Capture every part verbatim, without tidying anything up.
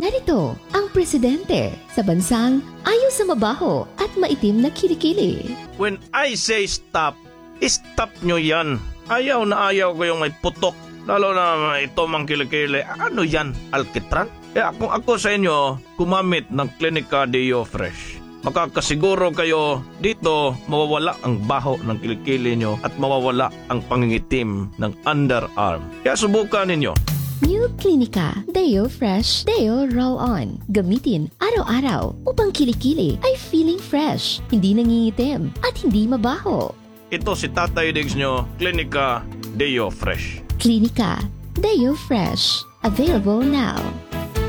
Narito ang presidente sa bansang ayaw sa mabaho at maitim na kilikili. When I say stop, stop nyo yan. Ayaw na ayaw ko yung may putok. Lalo na ito mang kilikili. Ano yan? Alkitran? Kaya kung ako sa inyo, gumamit ng Klinika Deo Fresh. Makakasiguro kayo dito mawawala ang baho ng kilikili nyo at mawawala ang pangingitim ng underarm. Kaya subukan ninyo. New Clinica Deo Fresh Deo Roll On. Gamitin araw-araw upang kilikili ay feeling fresh, hindi nangingitim, at hindi mabaho. Ito si Tatay Diggs nyo, Klinika Deo Fresh. Klinika Deo Fresh. Available now.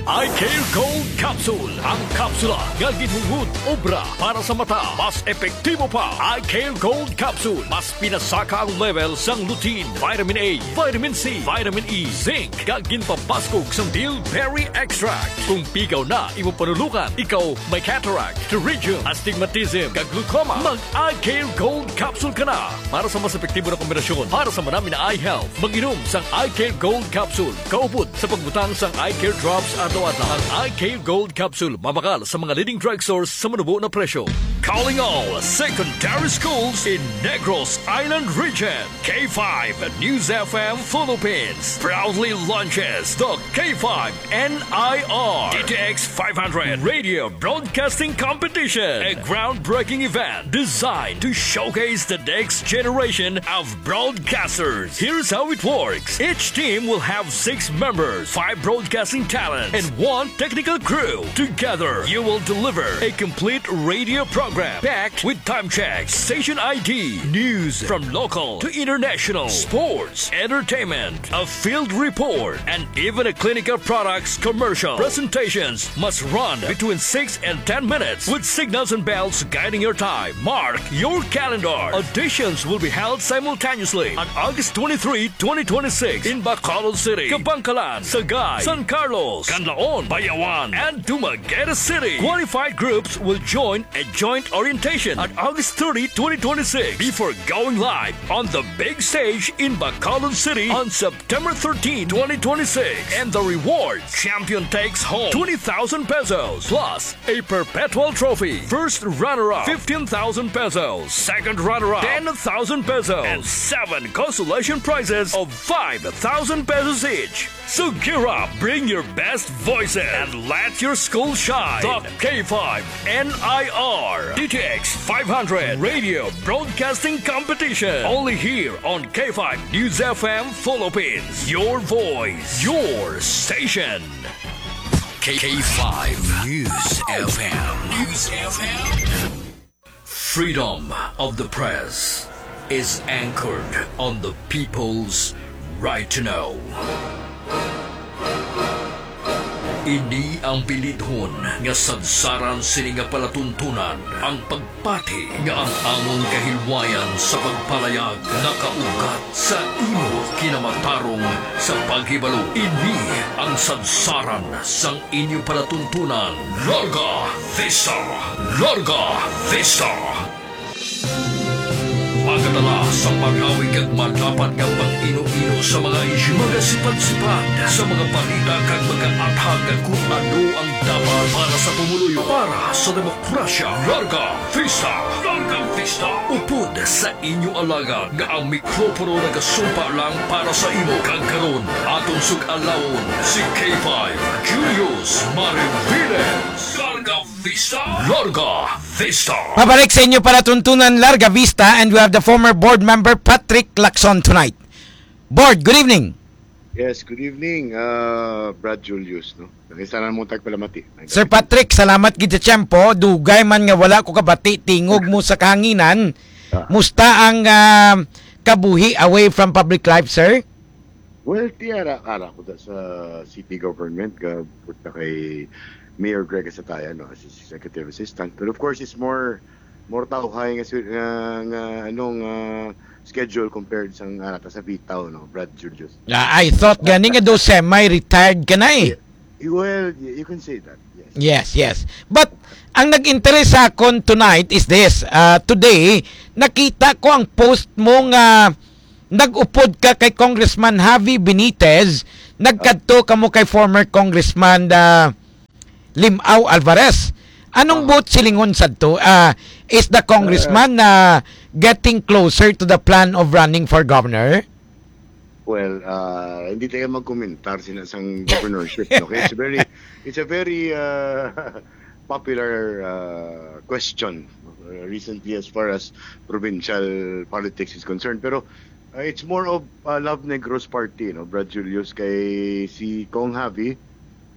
Eye Care Gold Capsule, ang kapsula nga ginhungod obra para sa mata. Mas epektibo pa, Eye Care Gold Capsule. Mas pinasaka ang level sang lutein, vitamin A, vitamin C, vitamin E, zinc, kag ginpabaskog sang bilberry extract. Kung pigaw na imo panulukan, ikaw may cataract, pterygium, astigmatism, kag glaucoma, mag Eye Care Gold Capsule ka na para sa mas epektibo na kombinasyon para sa madami na eye health. Mag-inom sang Eye Care Gold Capsule kaupod sa pagbutang sang Eye Care Drops adlaw-adlaw. Ang Eye Care Gold Capsule mabakal sa mga leading drugstores sa manubo na presyo. Calling all secondary schools in Negros Island Region. K five News F M Philippines proudly launches the K five N I R D T X five hundred Radio Broadcasting Competition, a groundbreaking event designed to showcase the next generation of broadcasters. Here's how it works. Each team will have six members, five broadcasting talents, and one technical crew. Together, you will deliver a complete radio program packed with time checks, station I D, news from local to international, sports, entertainment, a field report, and even a clinical products commercial. Presentations must run between six and ten minutes, with signals and bells guiding your time. Mark your calendar. Auditions will be held simultaneously on August twenty-three, twenty twenty-six, in Bacolod City, Kabankalan, Sagay, San Carlos, Canlaon, Bayawan, and Dumaguete City. Qualified groups will join a joint orientation on August thirty, twenty twenty-six, before going live on the big stage in Bacolod City on September thirteen, twenty twenty-six. And the reward: champion takes home twenty thousand pesos plus a perpetual trophy. First runner-up, fifteen thousand pesos. Second runner-up, ten thousand pesos. And seven consolation prizes of five thousand pesos each. So gear up, bring your best voices, and let your school shine. The K five N I R D T X five hundred Radio Broadcasting Competition. Only here on K five News F M Philippines. Your voice, your station. K five News F M. News F M. Freedom of the press is anchored on the people's right to know. Ini ang bilidhon nga sadsaran sini nga palatuntunan, ang pagpati nga ang amon kahilwayan sa pagpalayag nakaugat sa imo kinamatarong sa paghibalo. Ini ang sadsaran sang inyo palatuntunan. Larga Vista! Larga Vista! Magadala sa pag-awig kag madapat nga pag-ino-ino sa mga isyu, magasipat-sipat sa mga balita kag mag-aathag kung ano ang dapat para sa pumuluyo, para sa demokrasya. Larga Vista! Larga Vista! Upod sa inyo alagad nga ang mikropono nagasumpa lang para sa imo. Kag karon, aton sug-alawon si K five Julius Mariviles. Larga Vista! Larga Vista! Pabalik sa inyo palatuntunan, Larga Vista, and we have the former board member Patrick Lacson tonight. Board, good evening. Yes, good evening, uh, Brad Julius, no? Nangisanan mo tagpalamati. Sir Patrick, salamat gid sa tiyempo. Dugay man nga wala ko kabati, tingog mo sa kahanginan. Ah. Musta ang, ah, kabuhi away from public life, sir? Well, ti ara, ara ko da sa city government, ga-, report na kay Mayor Greg Asatayan, no, as his executive assistant. But of course, it's more, more tawhay nga si-, nga, nga, ano, nga schedule compared sa nga nata sa Bitaw, no, Brad Julius. Ah, I thought gani nga do semi-retired ka na eh. Yeah. Well, y-, you can say that, yes. Yes, yes. But ang nag-interest sa akon tonight is this. Ah, today, nakita ko ang post mo nga nag-upod ka kay Congressman Javi Benitez, nagkadto kamo kay former Congressman, ah, Limao Alvarez. Anong Ah. buot silingon sadto? Ah, is the congressman na getting closer to the plan of running for governor? Well, ah, hindi tayo magkomentar sina sang governorship, no? Kaya it's very, it's a very, ah, popular, ah, question, uh, recently as far as provincial politics is concerned. Pero, ah, it's more of, ah, Love Negros party, no, Brad Julius, kay si Cong Javi,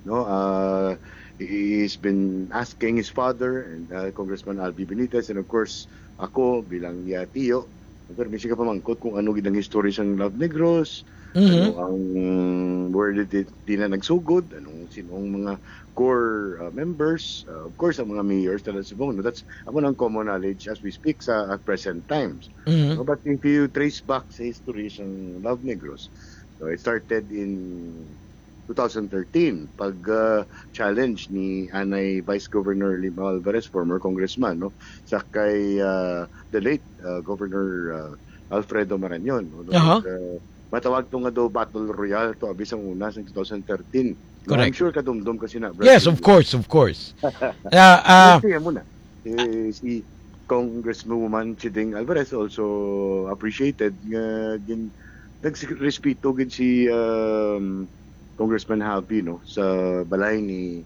no? Ah, he- he's been asking his father and, ah, Congressman Albi Benitez, and of course, ako bilang iya tiyo, pero may siya pamangkot kung ano gid ang history sang Love Negros, Mhm. ano ang, where did it, di na nagsugod, anong, sino ang mga core, ah, members, ah, of course, ang mga mayors talaga subong, no? That's, amo nang common knowledge as we speak sa at present times. Mhm. No, but if you trace back sa history sang Love Negros, so it started in two thousand thirteen pag, ah, challenge ni anay Vice Governor Limao Alvarez, former congressman, no, sa kay, ah, the late, ah, Governor, ah, Alfredo Marañon, no? Aha. Like, ah, matawag to nga daw battle royale to, abi sang una, sang two thousand thirteen. No, I'm Correct. sure kadumdom ka sina, Brad Yes, of Willie. course, of course. Ah, ah, Yes, siya muna. Eh, si Congresswoman Chiding Alvarez also appreciated nga gin-, nagrespeto gid si, um, Congressman Javi, no, sa balay ni,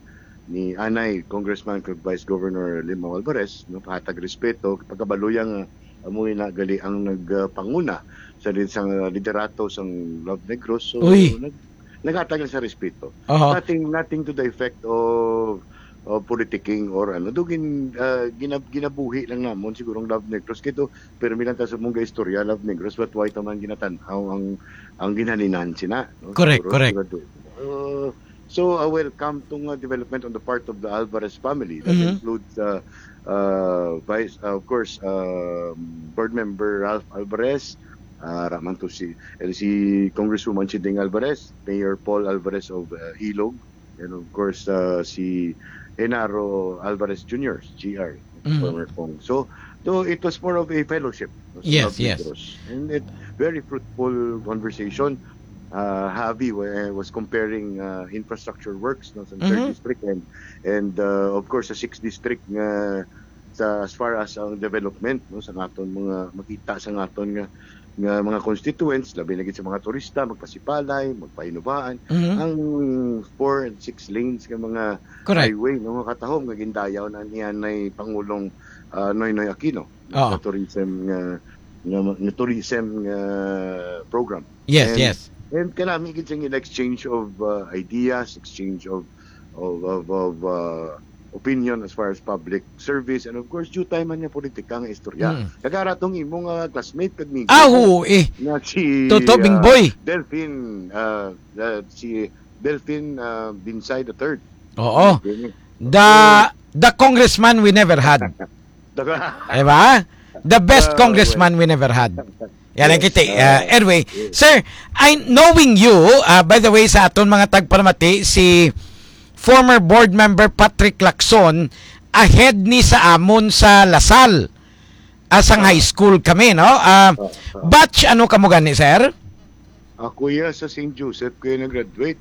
ni anay Congressman kag Vice Governor Limao Alvarez, no, pahatag respeto, pagkabalo iya nga amo na gali ang nagpanguna sa, sa liderato sang Love Negros. So, Uy. nag-, naghatag lang sa respeto. Aha. Nothing, nothing to the effect of, of politicking or ano. Do gin-, ah, ginab-, ginabuhi lang namon siguro ang Love Negros. Kay do, pero milang ta sa mong istorya, Love Negros, but why taman ginatan-aw ang, ang ginhalinan sina, no? Correct, Siguro, correct. siguro do. Uh, so, a welcome to nga development on the part of the Alvarez family. That Mhm. includes, uh, uh, Vice, uh, of course, uh, Board Member Ralph Alvarez, uh, raman to si, and si Congresswoman Chiding Alvarez, Mayor Paul Alvarez of, uh, Ilog, and of course, uh, si Genaro Alvarez Junior, G R, Mhm. former Cong. So, though it was more of a fellowship, no, sa Yes, Love yes. Negros. And it, very fruitful conversation. Uh, Javi wa-, was comparing, uh, infrastructure works, no, sa third Mhm. district and, and, uh, of course, sa sixth district nga sa, as far as ang development, no, sa aton mga makita sa aton nga, nga mga constituents, labi na gid sa mga turista, magpasipalay, magpahinubaan, Mhm. ang four and six lanes nga mga Correct. highway, no, nga katahom nga gindayaw na ni anay Pangulong, ah, Noynoy Aquino, no, Oo. sa tourism nga, nga, nga tourism nga program. Yes, And, yes. and kanami gid siyang exchange of, uh, ideas, exchange of, of, of, of, uh, opinion as far as public service, and of course, due time man nga politika nga istorya. Mm. Nagara tong imo nga classmate kag migo Ah, mo oo, eh. nga si, Toto uh, Bingboy. Delfin, uh, uh, si Delfin, uh, Binsay the third. Oo. Delfin. The, So, the congressman we never had. Daga. Diba? The best Ah, congressman well. we never had. Yan ang Yes, kita. Uh, ah, anyway, yes. sir, I, knowing you, uh, by the way, sa aton mga tagpalamati, si former board member Patrick Lacson, ahead ni sa amon sa Lasal. Asang Ah. high school kami, no? Ah, Ah, ah. batch ano kamo gani, sir? Ako iya sa Saint Joseph kaya nag-graduate.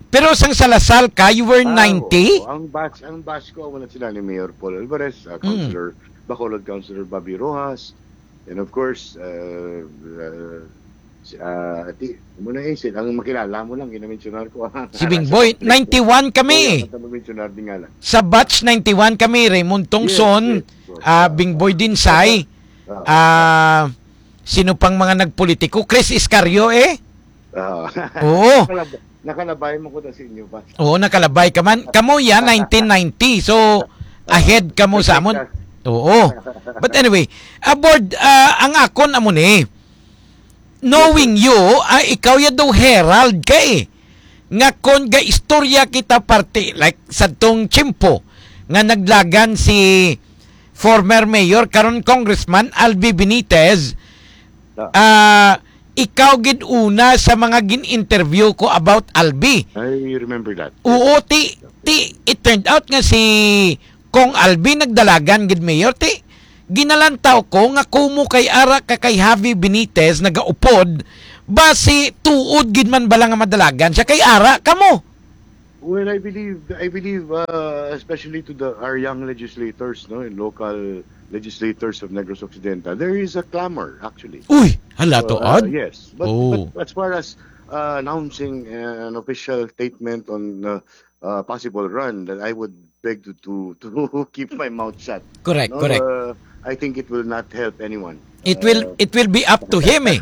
Pero sang sa Lasal ka, you were Ah, ninety? oo. Ang batch, ang batch ko, wala sila ni Mayor Paul Alvarez, ah, Mm. Councilor, Bacolod Councilor Bobby Rojas, and of course, uh, uh, si, ah, ati, mo na eh, sila ang makilala mo lang, ginamensionar ko. Si Bing Sa Boy, public. ninety-one kami. Oo, ang mensionar din nga lang. Sa batch ninety-one kami, Raymond Tongson, Yes, yes, yes. ah, Bing Boy Dinsay, Ah. ah, sino pang mga nagpolitiko? Chris Iscario, eh? Ah. Oo. Nakalab-, nakalabay mo ko na sa inyo ba? Oo, nakalabay ka man. Kamo yan, nineteen ninety. So, ahead kamo sa amon. Oo. But anyway, aboard, ah, ang akon amo ni, knowing you, ah, ikaw ya daw herald ka eh. Nga kon ga istorya kita parte, like, sa tong tiyempo nga naglagan si former mayor, karon Congressman Albi Benitez, Ah. ah, ikaw gid una sa mga gin-interview ko about Albi. I remember that. Oo, ti, ti, it turned out nga si Cong Albi nagdalagan gid mayor, ti. Ginalantaw ko nga kumo kay ara ka kay Javi Benitez nagaupod, basi tuod gid man bala nga madalagan siya kay ara kamo. Well, I believe, I believe, uh, especially to the, our young legislators, no, and local legislators of Negros Occidental, there is a clamor, actually. Uy, hala to, Uh, Od. yes, but, Oh. but as far as, uh, announcing an official statement on, uh, uh, possible run, that I would beg to, to, to keep my mouth shut. Correct, No? correct. Uh, I think it will not help anyone. It will Uh, it will be up to him eh.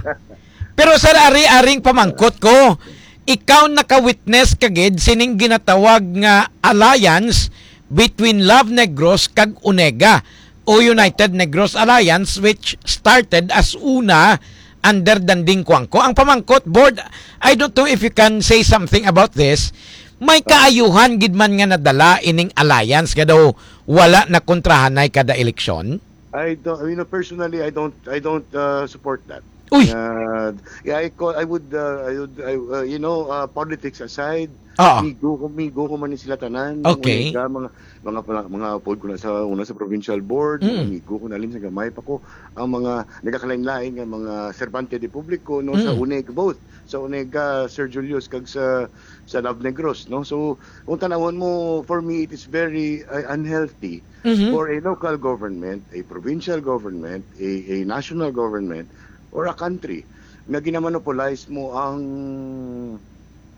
Pero sir, ari-aring pamangkot ko, ikaw naka-witness ka gid sining ginatawag nga alliance between Love Negros kag Onega o United Negros Alliance, which started as una under Danding Cuangco. Ang pamangkot, board, I don't know if you can say something about this. May kaayuhan gid man nga nadala ining alliance nga daw wala na kontrahanay kada eleksyon? I don't, you know, personally, I don't, I don't uh, support that. Uy! Uh, yeah, I call, I would, uh, I would, I, uh, you know, uh, politics aside, Ah. migo ko, migo ko man ni sila tanan. Okay. Mga, mga, mga, mga upod ko na sa una sa provincial board, Mm. migo ko na rin sa gamay pa ko. Ang mga nagakalain-lain nga mga serbante de publico, no, sa Mm. Onega, both sa Onega, Sir Julius, kag sa, sa Love Negros, no? So, kung tanawon mo, for me, it is very uh, unhealthy Mhm. for a local government, a provincial government, a, a national government, or a country na ginamonopolize mo ang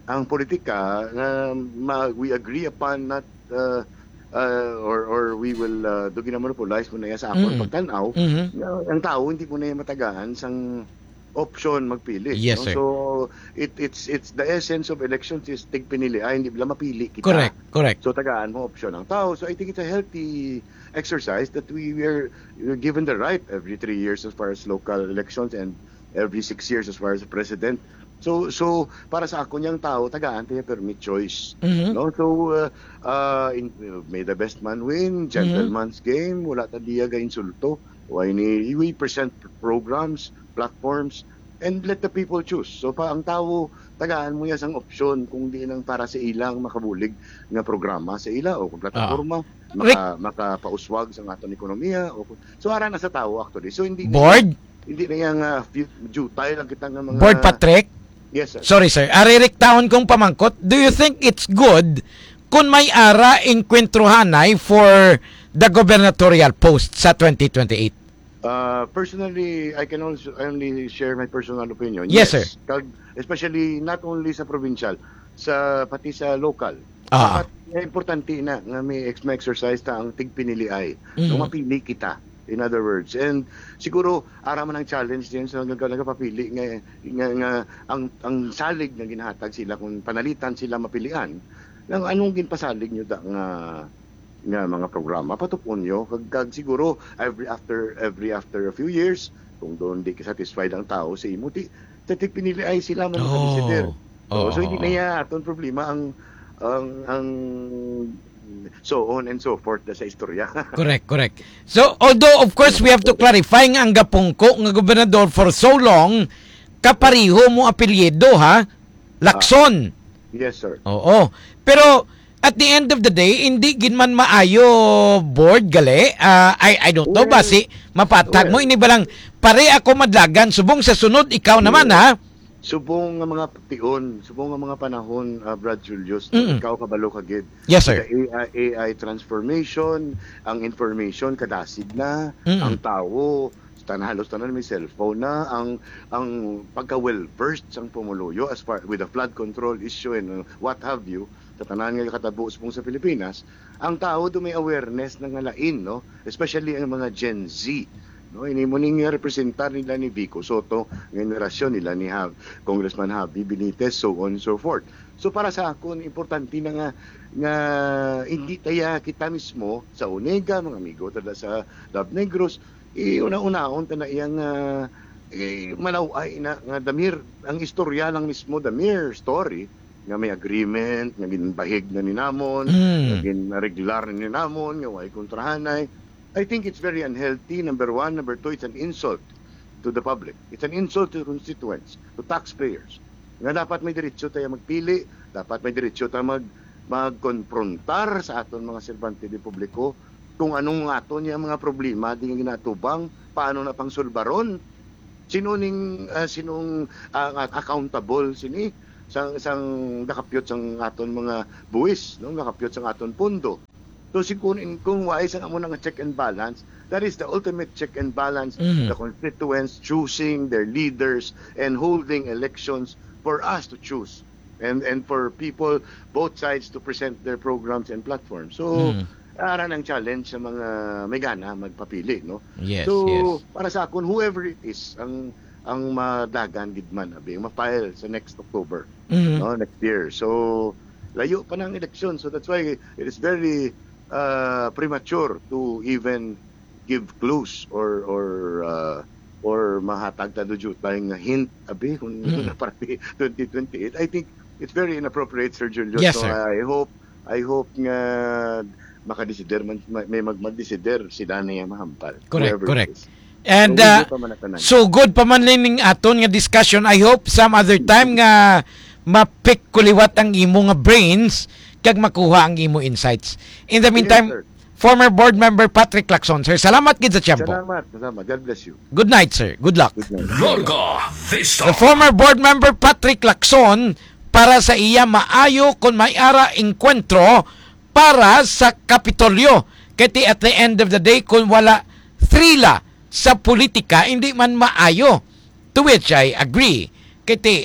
ang politika nga ma, we agree upon not uh, uh, or or we will uh, do ginamonopolize mo na iya sa akon Mm. pagtan-aw. Mhm. Uh, ang tao hindi mo na iya matagaan sang option magpili, Yes, no? sir. So it it's it's the essence of elections is tigpinili ay hindi lang mapili kita. Correct, correct. So tagaan mo option ang tao. So I think it's a healthy exercise that we were given the right every three years as far as local elections and every six years as far as the president. So so para sa ako niyang tao tagaan tayo permit choice. Mhm. No? So uh, uh, in, may the best man win, gentleman's game, wala ta diya ga insulto. Why ni we present programs, platforms, and let the people choose. So pa ang tao tagaan mo iya sang opsyon kung di nang para sa ilang makabulig nga programa sa ila o kung plataporma maka, makapauswag sa aton ekonomiya o kung- so ara na sa tao actually. So hindi na- Board? hindi na yang uh, futile lang kita nga mga Board Patrick? Yes, sir. Sorry, sir. Ari riktaon kong pamangkot, do you think it's good kung may ara inkwentruhanay for the gubernatorial post sa twenty twenty-eight? Uh, personally, I can also only share my personal opinion. Yes, sir. Kag, especially not only sa provincial, sa pati sa local. Ah. Dapat importante na nga may ex- may exercise ta ang tigpiniliay. Mhm. Nga mapili kita. In other words, and siguro ara man ang challenge din sa nag- nagapapili nga, nga, nga ang ang salig nga ginahatag sila kung panalitan sila mapilian. Nang anong ginpasalig nyo da nga nga mga programa patupon nyo kag, kag siguro every after every after a few years kung doon di ka satisfied ang tao sa imo ti ti pinili ay sila man Oh. makadesider. Oo, So hindi oo. na iya aton problema ang ang ang so on and so forth na sa istorya. Correct, correct. So, although of course we have to clarify nga ang gapungko nga gobernador for so long, kapariho mo apelyido ha, Lacson. Yes, sir. Oo. Pero at the end of the day, hindi gid man maayo board gali. Ah, I I don't know ba Well, si mapatag mo well. Ini ba lang pare ako madlagan subong sa sunod ikaw naman ha. Subong nga mga tion, subong nga mga panahon, ah, Brad Julius, Mm. ikaw kabalo ka gid. Yes, sir. The A I, A I transformation, ang information kadasig na, Mm. ang tawo, tan halos tanan may cellphone na, ang ang pagka well versed sang pumuluyo as far with the flood control issue and uh, what have you, sa tanan nga katabo subong sa Pilipinas, ang tawo do may awareness na nga lain, no? Especially ang mga Gen Z. No, ini mo ning representar nila ni Vico Soto, nga henerasyon nila ni Jav, Congressman Javi Benitez, so on and so forth. So para sa akon importante na nga nga hindi taya kita mismo sa Onega, mga amigo tada sa Love Negros, eh, una-unaon ta na iyang ah, eh, malaw-ay na nga damir ang istorya lang mismo, damir story nga may agreement nga ginbahig na ni namon, Mm. nga ginareglar na ni namon, nga way kontrahanay. I think it's very unhealthy, number one. Number two, it's an insult to the public. It's an insult to the constituents, to taxpayers. Nga dapat may diretso tayo magpili, dapat may diretso tayo mag magkonfrontar sa aton mga serbante de publiko kung anong aton yung mga problema di nga ginatubang, paano na pangsulbaron, sino ning ah, sinong ah, accountable sini. sang, sang nakapyot sang aton mga buwis, no? Nakapyot sang aton pondo. So, si kun, kung wais ang amo nga check and balance, that is the ultimate check and balance, Mhm. the constituents choosing their leaders and holding elections for us to choose and, and for people, both sides, to present their programs and platforms. So, Mm. ara ang challenge sa mga may gana magpapili, no? Yes, So, yes. para sa akon, whoever it is, ang, ang madagan gid man, abi, ang ma-file sa next October, Mhm. no, next year. So, layo pa na ang eleksyon. So, that's why it is very, uh, premature to even give clues or, or, uh, or mahatag ta dujutay nga hint, abi, kung Mm. para twenty twenty-eight. I think it's very inappropriate, Sir Julio. Yes, So, sir. I hope, I hope nga makadesider man, may, may mag-, magdesider sila na yung mahampal. Correct, Whoever it correct. is. And, So, uh, hindi pa man natanan. so good pa man ning aton nga discussion. I hope some other time nga mapick ko liwat ang imo nga brains kag makuha ang imo insights. In the Yes, meantime, sir. former board member Patrick Lacson, sir, salamat gid sa tiyempo. Salamat, salamat. God bless you. Good night, sir. Good luck. Good night. Larga Vista. The former board member Patrick Lacson para sa iya maayo kon may ara engkwentro para sa Kapitolyo. Kay ti at the end of the day, kung wala thrila sa politika, hindi man maayo. To which I agree. Kay ti,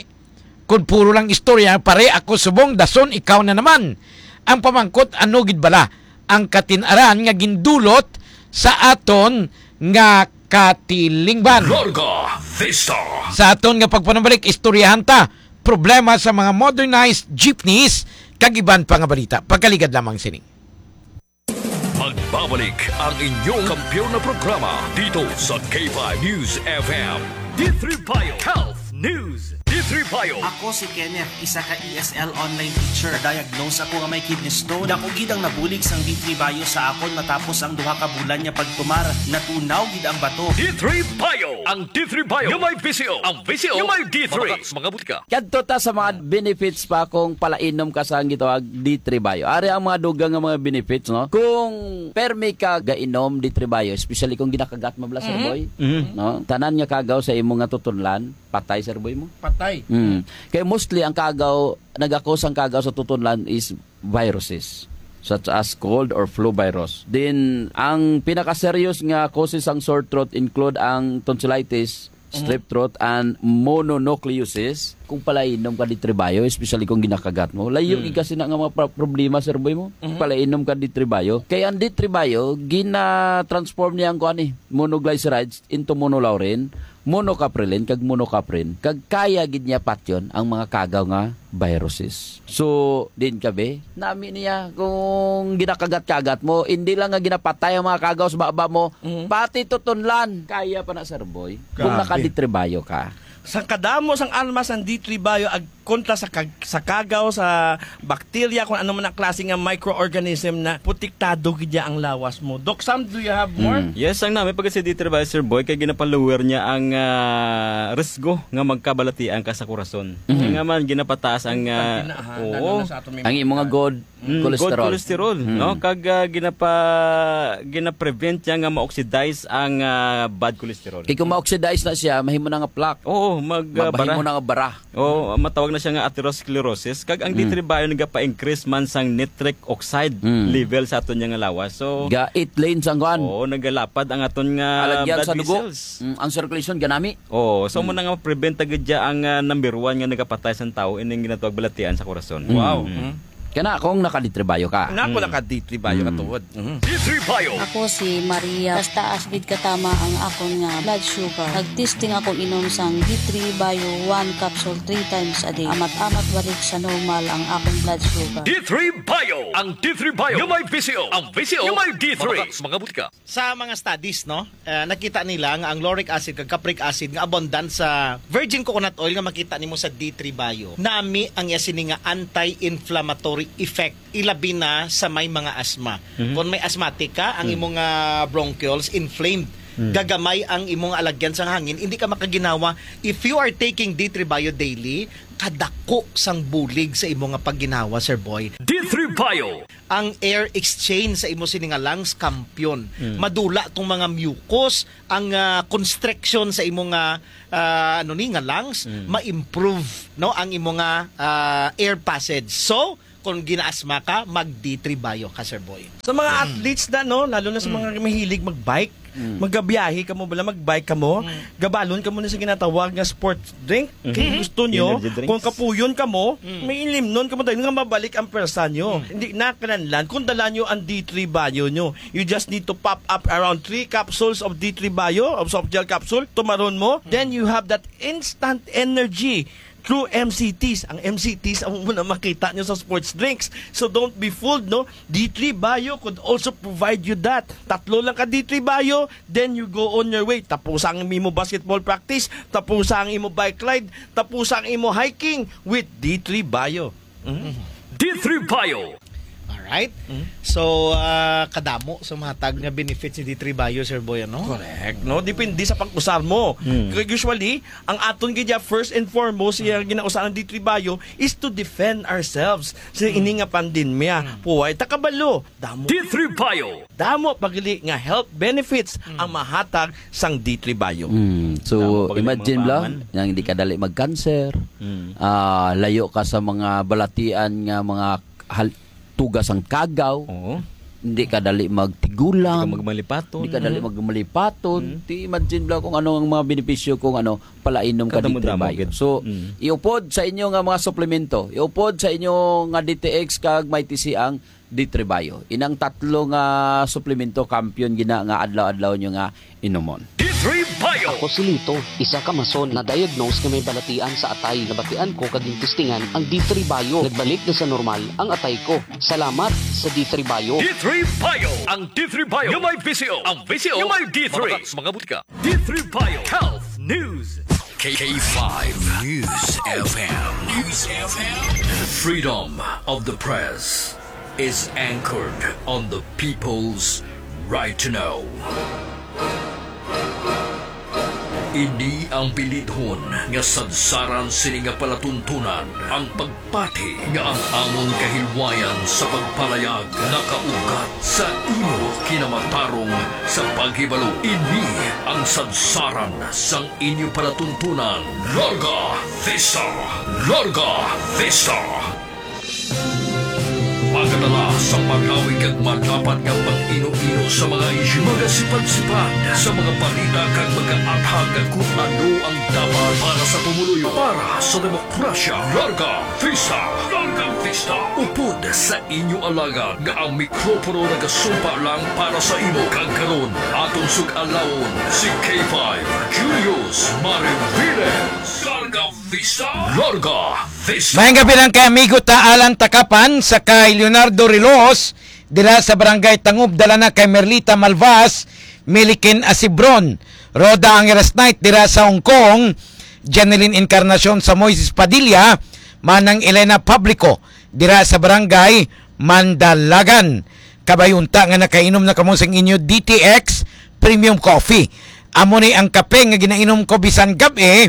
kung puro lang istorya, pare, ako subong, dason, ikaw na naman. Ang pamangkot, ano gid bala ang katin-aran nga gindulot sa aton nga katilingban? Larga Vista. Sa aton nga pagpanumalik, istoryahan ta problema sa mga modernized jeepneys kag iban pa nga balita. Pagkaligad lamang sini. Magbabalik ang inyong kampiyon na programa dito sa K five News F M. D three Bio Health News. D three Bio. Ako si Kenneth, isa ka E S L online teacher. Diagnose ako nga may kidney stone. Dako gid ang nabulig sang D three Bio sa akon matapos ang duha ka bulan nga pagtumar. Natunaw gid ang bato. D three Bio. Ang D three Bio nga may V C O. Ang V C O nga may D three. Mga butika. Kadto ta sa mga benefits pa kung palainom ka sa ang gitawag D three Bio. Ari ang mga dugang nga mga benefits, no? Kung permi ka gainom D three Bio, especially kung ginakagat mo bala, Sir Mhm. Boy, Mhm. no? Tanan nga kagaw sa imo nga tutunlan, patay, Sir Boy, mo. Patay. Mm. Kay mostly ang kagaw, nagakos ang kagaw sa tutunlan is viruses, such as cold or flu virus. Then, ang pinaka-serious nga causes sang sore throat include ang tonsillitis, Mhm. strep throat, and mononucleosis. Kung palainom ka D three Bio, especially kung ginakagat mo, layo Mm. gid kasi na nga mga pro-, problema, Sir Boy, mo. Mhm. Palainom ka D three Bio. Kay ang D three Bio, gina-transform niya ang kuan, eh, monoglycerides into monolaurin, monocaprilin, kag monocaprin. Kag kaya gid niya patyon ang mga kagaw nga viruses. So, din ka, be, nami niya kung ginakagat-kagat mo, hindi lang nga ginapatay ang mga kagaw sa baba mo, Mhm. pati tutunlan, kaya pa na, Sir Boy, kung Grabe. naka-D three Bio ka. Sa kadamo sang armas ang D three Bio ag kontra sa kag-, sa kagaw, sa bakterya, kung ano man ang klase nga microorganism na protektado gid niya ang lawas mo. Doc Sam, do you have more? Mm. Yes, ang nami pag si D three Bio, Sir Boy, kay ginapaluwer niya ang, ah, risgo nga magkabalatian ka sa kurason. Mhm. Kaya nga man, ginapataas ang, ah, Importante na, ha, oo. Lalo na sa aton may Ang mga imong nga edad. good Mm, good cholesterol. cholesterol, Mm. no? Kag, ah, ginapa-, ginaprevent niya nga ma-oxidize ang, ah, bad cholesterol. Kay kung ma-oxidize na siya, mahimo na nga plaque. Oo, mag, ah, Mahimo bara. na nga bara. Oo, matawag na siya nga atherosclerosis. Kag ang Mm. D three Bio nagapa-increase man sang nitric oxide Mm. level sa aton nga lawas. So, Ga eight lanes ang kuan. Oo, nagalapad ang aton nga Alagyan blood sa dugo. vessels. Mm, ang circulation, ganami. Oo, so Mm. mo na nga ma-prevent ta gid dya ang, ah, number one nga nagapatay sang tao, ining ginatawag balatian sa korason. Wow. Mm. Mm. Kana kung naka-D three Bio ka. Na ako Mm. naka-D three Bio Mm. katuod. Mhm. D three Bio. Ako si Maria. Mas taas gid katama ang akon nga blood sugar. Nag-testing ako inom sang D three Bio one capsule three times a day. Amat-amat balik sa normal ang akon blood sugar. D three Bio. Ang D three Bio nga may V C O. Ang V C O nga may D three. Mga, mga butika. Sa mga studies, no, eh, nakita nila nga ang lauric acid kag capric acid nga abundant sa virgin coconut oil nga makita nimo sa D three Bio, nami ang iya sini nga anti-inflammatory effect, ilabi na sa may mga asthma. Mhm. Kung may asthmatic ka, ang Mm. imong, ah, bronchioles inflamed, Mm. Gagamay ang imong alagyan sang hangin, hindi ka makaginhawa. If you are taking D three Bio daily, kadako sang bulig sa imo nga pagginhawa, Sir Boy. D three Bio. Ang air exchange sa imo sini nga lungs, kampiyon. Mm. Madula tong mga mucus, ang, ah, constriction sa imo nga, ah, ano ni, nga lungs, Mm. ma-improve, no, ang imo nga, ah, air passage. So, kung ginaasma ka, mag D three Bio ka, Sir Boy. Sa mga Mm. athletes na, no, lalo na sa Mm. mga mahilig mag-bike, Mm. magabiyahe kamo bala, mag-bike kamo, Mm. gabalon kamo na sa ginatawag nga sports drink. Kay Mm. gusto nyo, Energy drinks. kung kapuyon kamo, Mm. may ilimnon kamo tayo nga mabalik ang pwersa nyo. Mm. Hindi na kinahanglan kung dala nyo ang D three Bio nyo. You just need to pop up around three capsules of D three Bio, of soft gel capsule, tumaron mo, Mm. then you have that instant energy through M C Ts. Ang M C Ts, amo na makita nyo sa sports drinks. So don't be fooled, no? D three Bio could also provide you that. Tatlo lang ka D three Bio, then you go on your way. Tapusa ang imo basketball practice, tapusa ang imo bike ride, tapusa ang imo hiking with D three Bio. Mm. D three Bio. Alright. Mm. So, ah, kadamo sa mahatag nga benefits ni D three Bio, Sir Boy, ano? Correct, no? Depende sa pag-usar mo. Mm. Kaya usually, ang aton gid ya, first and foremost, siya Mm. ginausa ng D three Bio is to defend ourselves sa Mm. ini nga pandemya. Mm. Puway, takabalo, damo. D three Bio. Damo pa gali nga health benefits Mm. ang mahatag sang D three Bio. Mm. So, Tama pa gali imagine mga lang, paman. Nga hindi ka dali mag-cancer, Mm. ah, layo ka sa mga balatian nga mga hal-, tugas ang kagaw. Oo. Hindi ka dali magtigulang. Hindi ka magmalipaton. Hindi ka dali Mm. magmalipaton. Mm. Ti imagine lang kung ano ang mga benepisyo kung ano, palainom ka Kadamo-damo D three Bio. gid. So, Mm. iupod sa inyo nga mga suplemento. Iupod sa inyo nga D T X kag may T C ang D three Bio. Inang tatlo nga suplemento, kampiyon gina nga adlaw-adlaw nyo nga inumon. D three Bio. Ako si Lito, isa ka mason na diagnose nga may balatian sa atay. Nabatian ko kag gintistingan ang D three Bio. Nagbalik na sa normal ang atay ko. Salamat sa D three Bio. D three Bio. Ang D three Bio nga may V C O. Ang V C O nga may D three. Mabakal sa mga butika. D three Bio Health News. K five News F M. News F M. Freedom of the press is anchored on the people's right to know. Ini ang bilidhon nga sadsaran sini nga palatuntunan, ang pagpati nga ang amon kahilwayan sa pagpalayag nakaugat sa imo kinamatarong sa paghibalo. Ini ang sadsaran sang inyo palatuntunan. Larga Vista! Larga Vista! Magadala sa magawi kag madapat nga pag-ino-ino sa mga isyu, magasipad-sipad sa mga balita kag magaathag kung ano ang dapat para sa pumuluyo, para sa demokrasya. Larga Vista! Larga Vista! Upod sa inyo alagad nga ang mikropono nagasumpa lang para sa imo, kag karon aton sug-alawon si K five Julius Mariviles. Larga Vista! Larga Vista! Maayong gabi lang kay amigo ta Alan Takapan, sa kay Leonardo Rilos, dira sa Barangay Tangub, dala na kay Merlita Malvas, Milikin Asibron, Rhoda Angeles Knight dira sa Hong Kong, Jeneline Encarnacion sa Moises Padilla, Manang Elena Publico dira sa Barangay Mandalagan. Kabay unta nga nakainom na kamo sang inyo D T X Premium Coffee. Amo ni ang kape nga ginainom ko bisan gab-i,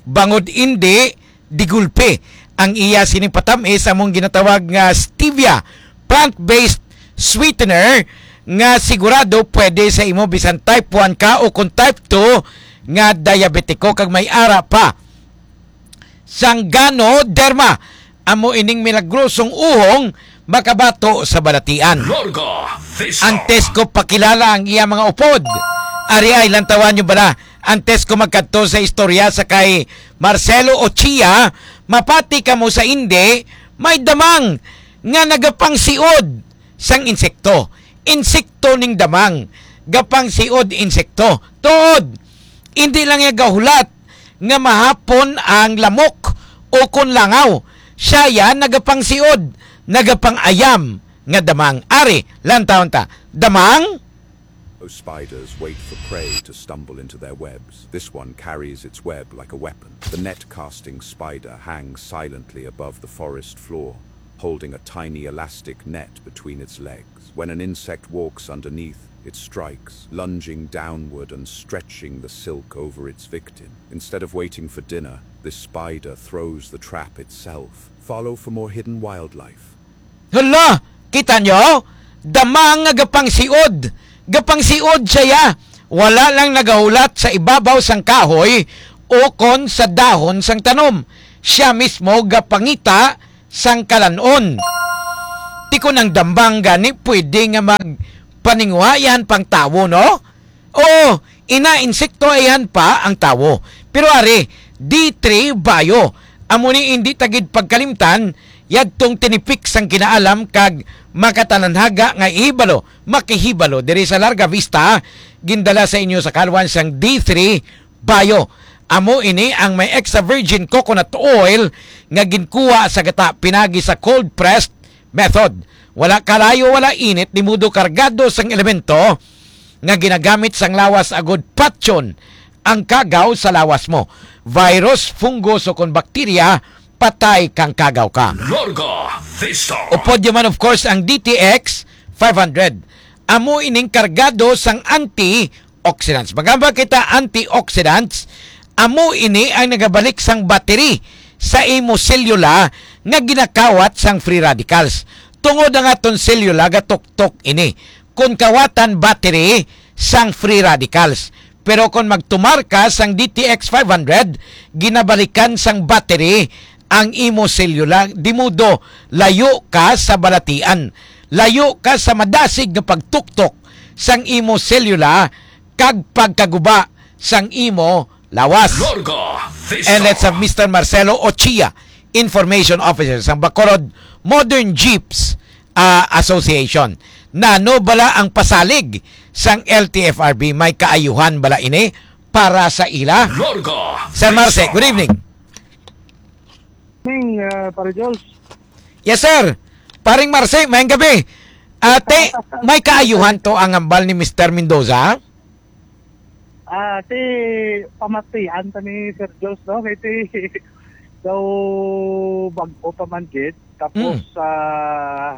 bangod indi, digulpi ang iya sining patamis, among ginatawag nga stevia, plant-based sweetener nga sigurado pwede sa imo bisan type one ka o kung type two nga diabetiko kag may ara pa sang ganoderma. Amo ining milagrosong uhong makabato sa balatian. Larga Vista. Antes ko pakilala ang iya mga upod, ari ay lantawan nyo bala. Antes ko magkadto sa istorya sa kay Marcelo Ochia, mapati kamo sa indi, may damang nga nagapangsiod sang insekto. Insekto ning damang, gapangsiod insekto. Tuod, hindi lang niya gahulat nga mahapon ang lamok o kon langaw. Siya yan nagapangsiod, nagapangayam nga damang. Ari, lantawon ta. Damang? Oh, spiders wait for prey to stumble into their webs. This one carries its web like a weapon. The net-casting spider hangs silently above the forest floor, holding a tiny elastic net between its legs. When an insect walks underneath, It strikes, lunging downward and stretching the silk over its victim. Instead of waiting for dinner, this spider throws the trap itself. Follow for more hidden wildlife. Hala! Kita nyo? Damang nga gapangsiod. Gapangsiod siya. Wala lang nagahulat sa ibabaw sang kahoy o kon sa dahon sang tanom. Siya mismo gapangita sang kalan-on. Ti kon ang damang gani pwede nga magpaninguha, iya pang tawo, no? Oo, ina, insekto, iya pa ang tawo. Pero ari, D three Bio. Amo ni, hindi ta gid pagkalimtan, yadtong tinipik sang kinaalam kag makatananhaga nga ihibalo, makihibalo diri sa Larga Vista, gindala sa inyo sa kalwan sang D three Bio. Amo ini ang may extra virgin coconut oil nga ginkuha sa gata pinagi sa cold pressed method. Wala kalayo, wala init, di mudo kargado sang elemento nga ginagamit sang lawas agud patyon ang kagaw sa lawas mo. Virus, fungus, o kon bakterya, patay kang kagaw ka. Larga Vista. Upod yun man, of course, ang D T X five hundred. Amo ining kargado sang antioxidants. Magamba kita antioxidants, amo ini ang nagabalik sang battery sa imo selula nga ginakawat sang free radicals. Tungod ang aton selula gatuktok ini. Kon kawatan battery sang free radicals. Pero kon magtumar ka sang D T X five hundred, ginabalikan sang battery ang imo selula, di mudo layo ka sa balatian, layo ka sa madasig nga pagtuktok sang imo selula kag pagkaguba sang imo lawas. Larga Vista. And let's have Mister Marcelo Ochia, Information Officer sang Bacolod Modern Jeeps, ah, Association. Nano bala ang pasalig sang L T F R B? May kaayuhan bala ini para sa ila? Larga Sir Marce, Vista. Good evening. Morning, ah, Pare Jules. Yes, sir. Paring Marce, mayang gabi. Ate, may kaayuhan to ang hambal ni Mister Mendoza? Ah, ti pamatian ta ni Sir Jules, no? Kay ti daw bag-o pa man gid. Tapos, Mm. ah,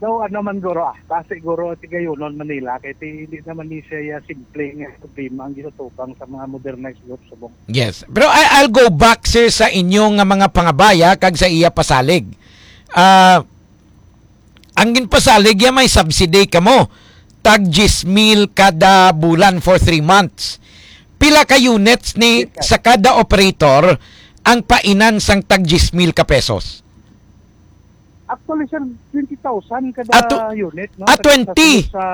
daw ano man guro, ah, ta siguro ti gayunon Manila, kay ti hindi naman ni siya simple nga problema ang ginatubang sa mga modernized group subong. Yes. Pero I, I'll go back, sir, sa inyo nga mga pangabaya kag sa iya pasalig. Ah, ang ginpasalig ya may subsidy kamo, tag diyes mil kada bulan for three months. Pila ka units ni Yes, sir. sa kada operator ang painan sang tag diyes mil ka pesos? Actually, sir, twenty thousand kada Ah, tw-, unit, no? ah, Sa, sa twenty. Sa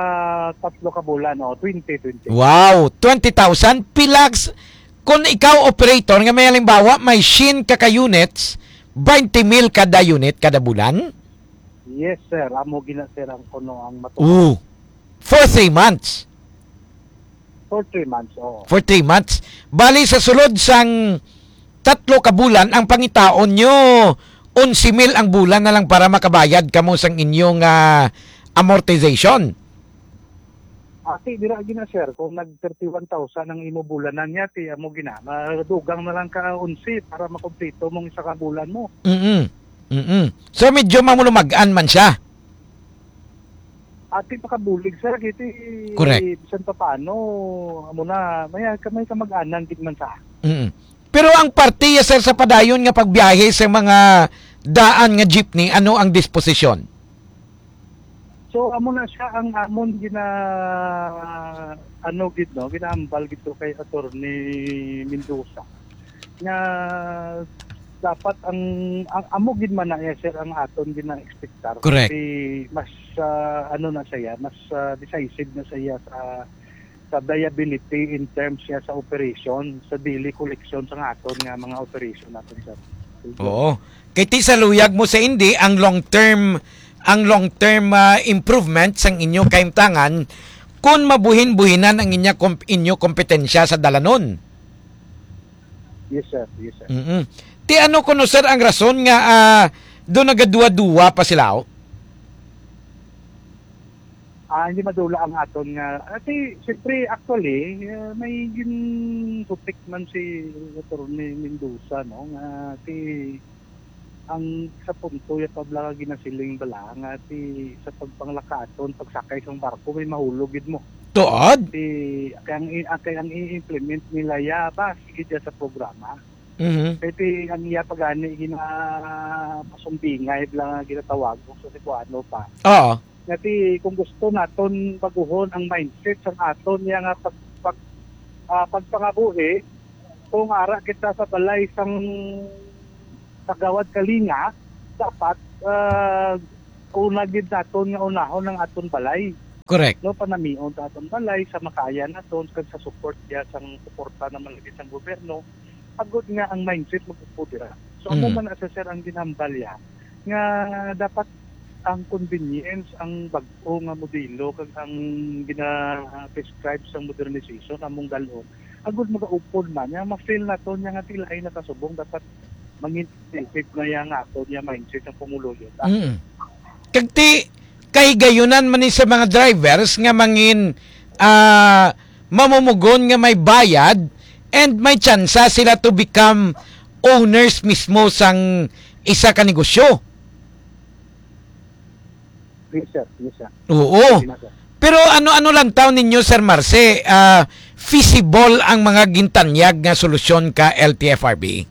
tatlo ka bulan, oh, twenty, twenty. Wow, twenty thousand. Pila s-, kung ikaw operator nga may halimbawa, may siyam ka ka units, twenty mil kada unit kada bulan? Yes, sir. Amo gina, sir, ang kuno ang matuod. Oo. For three months? For three months, oo. For three months. Bali, sa sulod sang tatlo ka bulan, ang pangitaon nyo, onse mil ang bulan na lang para makabayad kamo sang inyong, ah, amortization. Ati, dira gina, sir, kung nag thirty-one thousand ang imo bulanan niya, ti amo gina, madugang na lang ka onse para makumpleto mong isa ka bulan mo. Mm-mm. Mm-mm. So, medyo mamulumag-an man siya. Ati, pakabulig, sir, kiti Correct. bisan pa paano, amo na, may, may kamag-anan gid man sa. Mm-mm. Pero ang parte, yes, sir, sa padayon nga pagbiyahe sa mga daan nga jeepney, ano ang disposisyon? So, amo na siya ang amon gina, ano gid, no, ginaambal gid to kay Attorney Mendoza nga dapat ang, ang amo gid man na, eh, sir, ang aton gina-expectar. Correct. Kasi mas, ah, ano na siya, mas, ah, decisive na siya sa sa viability in terms siya sa operation, sa daily collection sa nga aton nga mga operation natin, sir. Oo. Kay ti sa luyag mo sa indi, ang long term, ang long term, ah, improvement sang inyo kahimtangan kung mabuhin-buhinan ang inya komp-, inyo kompetensya sa dalanon. Yes, sir. Yes, sir. Mm-mm. Ti ano kuno, sir, ang rason nga, ah, do nagaduwa-duwa pa sila, oh? Ah, hindi madula ang aton nga, ah, ti, siyempre, actually, ah, may ginsutik man si Attorney Mendoza, no, nga ti, ang sa punto ya pabla nga ginasiling bala nga ti sa pagpanglakaton, pagsakay sang barko, may mahulog gid mo. Tuod? Ti, kay ang i-, kay ang i-implement nila ya, ba, sige dyan sa programa. Mhm. Kay ti, ang iya pa gani, gina-, masumbingay lang nga ginatawag sa Cebuano pa. Oo. Nga ti, kung gusto naton baguhon ang mindset sa aton niya nga pag-, pag-, ah, pagpangabuhi, kung ara kita sa balay sang Kagawad Kalinga, dapat, ah, una gid naton nga unahon ang aton balay. Correct. No, panamion sa aton balay, sa makaya naton, kag sa support niya, sang suporta naman lagi sang gobyerno, agod nga ang mindset magpupudira. So, amo Mm. man na, sir, ang ginhambal niya, nga dapat ang convenience, ang bag-o nga modelo, kag ang gina-prescribe sang modernization among dalhon, agud magaupod man, nga ma-feel naton niya nga ti lain na kasubong, dapat mangin-, effect na yang aton niya mindset ang pumuluyo ta. Mm. Kag ti, kahigayunan man ni sa mga drivers nga mangin, ah, mamumugon nga may bayad and may tsansa sila to become owners mismo sang isa ka negosyo. Yes, sir. Yes, sir. Oo. Yes, sir. Pero ano, ano lang taon ninyo, Sir Marce, ah, feasible ang mga gintanyag nga solusyon ka L T F R B?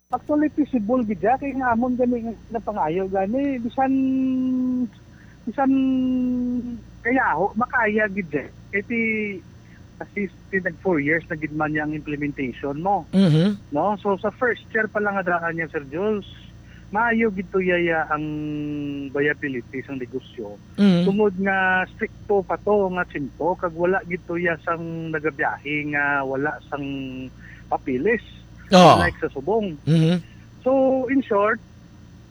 Actually, feasible gid siya. Kay nga amon gani nga pangayo gani, bisan, bisan kayaho, makaya gid siya. Kay ti, at least, ti nag four years na gid man niya ang implementation mo. Mhm. No? So, sa first year pa lang nga daan niya, Sir Jules, maayo gid to yaya ang viability sang negosyo. Mhm. Tungod nga strikto pa to nga tiyempo, kag wala gid to ya sang nagabiyahe nga wala sang papeles, Oo. unlike sa subong. Mhm. So, in short,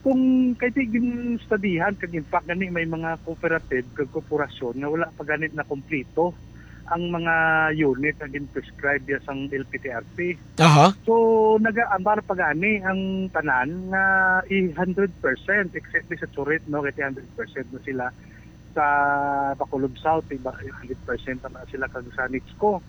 kung kay ti ginstudihan, kag in fact gani may mga cooperative kag korporasyon nga wala pa gani na kompleto ang mga unit nga gin-prescribe ya sang L P T R P. Aha. So, nagaambar pa gani ang tanan nga i-hundred percent, except sa Churit, no, kay ti hundred percent na sila sa Bacolod South, iba, hundred percent na sila kag sa NITSCO.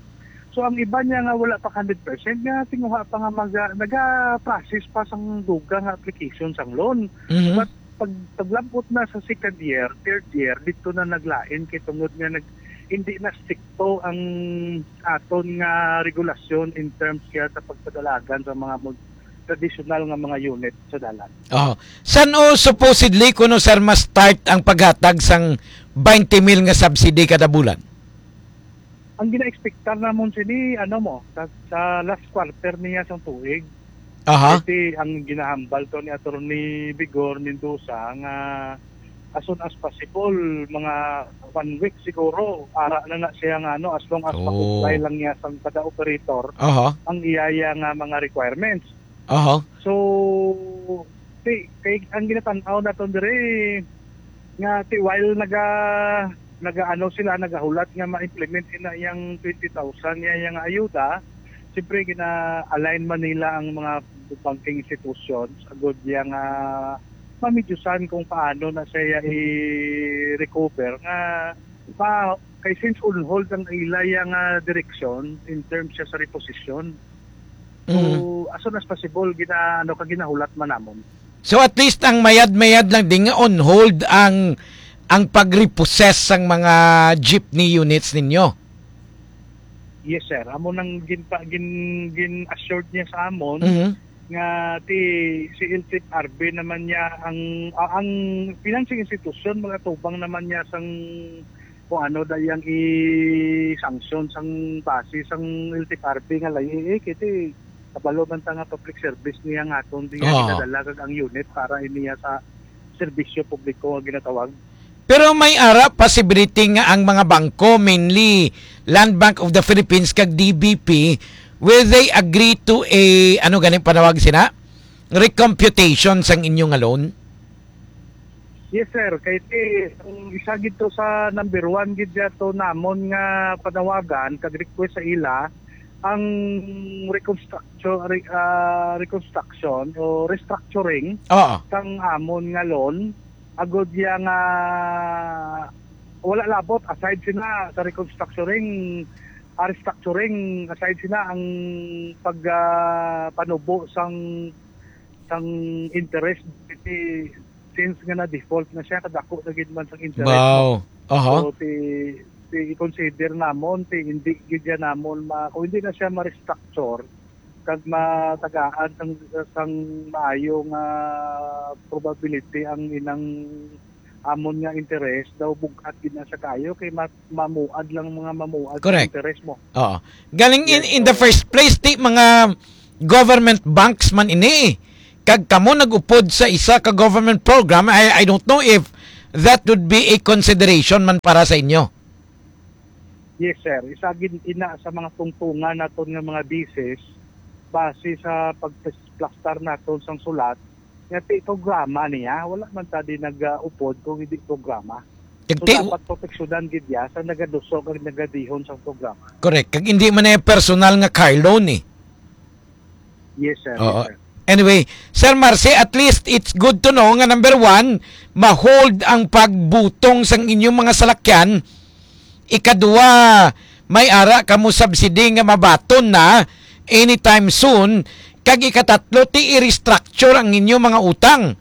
So, ang iba niya nga wala pa hundred percent, nga tinguha pa nga maga-, naga-process pa sang dugang nga application sang loan. Mhm. But pag, paglabot na sa second year, third year, dito na naglain kay tungod nga nag-, hindi na strikto ang aton nga regulasyon in terms kaya sa pagpadalagan sa mga mod-, traditional nga mga unit sa dalan. Oh. San o supposedly kuno, sir, ma-start ang paghatag sang twenty mil nga subsidy kada bulan? Ang gina-expectar namon sini, ano mo, sa, sa last quarter niya sang tuig. Aha. Kasi ang ginahambal to ni Attorney Vigor Mendoza nga as soon as possible, mga one week siguro, ara na na siya nga, ano, as long as Oh. ma-comply lang niya sang kada operator Aha. ang iyaya nga mga requirements. Aha. So, ti, kay ang ginatan-aw naton diri nga ti while naga, naga-ano sila, nagahulat nga ma-implement ina yang twenty thousand nga, yang ayuda, siyempre gina-align man nila ang mga banking institutions agud yang, ah, mamidyusan kung paano na siya i-recover nga pa, kay since on hold ang ila yang, ah, direksyon in terms siya sa reposition. So, Mhm. as soon as possible, gina-, ano ka, ginahulat man namon. So, at least ang mayad-mayad lang din nga on hold ang, ang pag-repossess sang mga jeepney units ninyo? Yes, sir. Amo nang gin-, gin-, gin-assured niya sa amon Mhm. nga ti, si L T F R B naman niya ang, ah, ang financing institution, magatubang naman niya sang kung ano da yang i-sanction sang base sang L T F R B nga layi, eh, kay ti kabalo man ta nga public service niya nga aton di nga Oo. ginadala kag ang unit para iniya sa serbisyo publiko nga ginatawag. Pero may ara possibility nga ang mga bangko, mainly Land Bank of the Philippines kag D B P, will they agree to a, ano ganing panawag sina? Recomputation sang inyo nga loan? Yes, sir. Kay ti, ang isa gid to sa number one gid dya to namon nga panawagan kag request sa ila ang reconstruction, re-, ah, reconstruction o restructuring Oo. sang amon nga loan. Agud ya nga wala labot aside sina sa reconstructuring, ah, restructuring, aside sina ang pag, ah, panubo sang, sang interest, ti, since nga na-default na siya, kadako na gid man sang interest, Wow. no? Aha. So, ti, ti i-consider namon, ti hindi gid yan namon ma-, kung hindi na siya ma-restructure, kag matagaan sang, sang maayo nga probability ang inang amon nga interes, daw bug-at gid na siya kayo kay ma-, mamuad lang mga mamuad sa Correct. interes mo. Oo. Galing in, Yes, in the oo. first place, ti mga government banks man ini. Kag kamo nag-upod sa isa ka government program, I, I don't know if that would be a consideration man para sa inyo. Yes, sir. Isa gid ina sa mga tungtungan naton nga mga bisis base sa pagplastar naton sang sulat nga ti programa niya. Wala man ta di nag-upod kung hindi programa. Kag So, ti dapat proteksyonan gid ya sa nagaduso kag nagadihon sang programa. Correct. Kag hindi man na personal nga car loan eh. Yes, sir. Oo. Yes, sir. Anyway, Sir Marcy, at least it's good to know nga number one, ma-hold ang pagbutong sang inyong mga salakyan. Ikadua, may ara kamo subsidy nga mabaton na anytime soon. Kag ikatatlo, ti i-restructure ang inyong mga utang.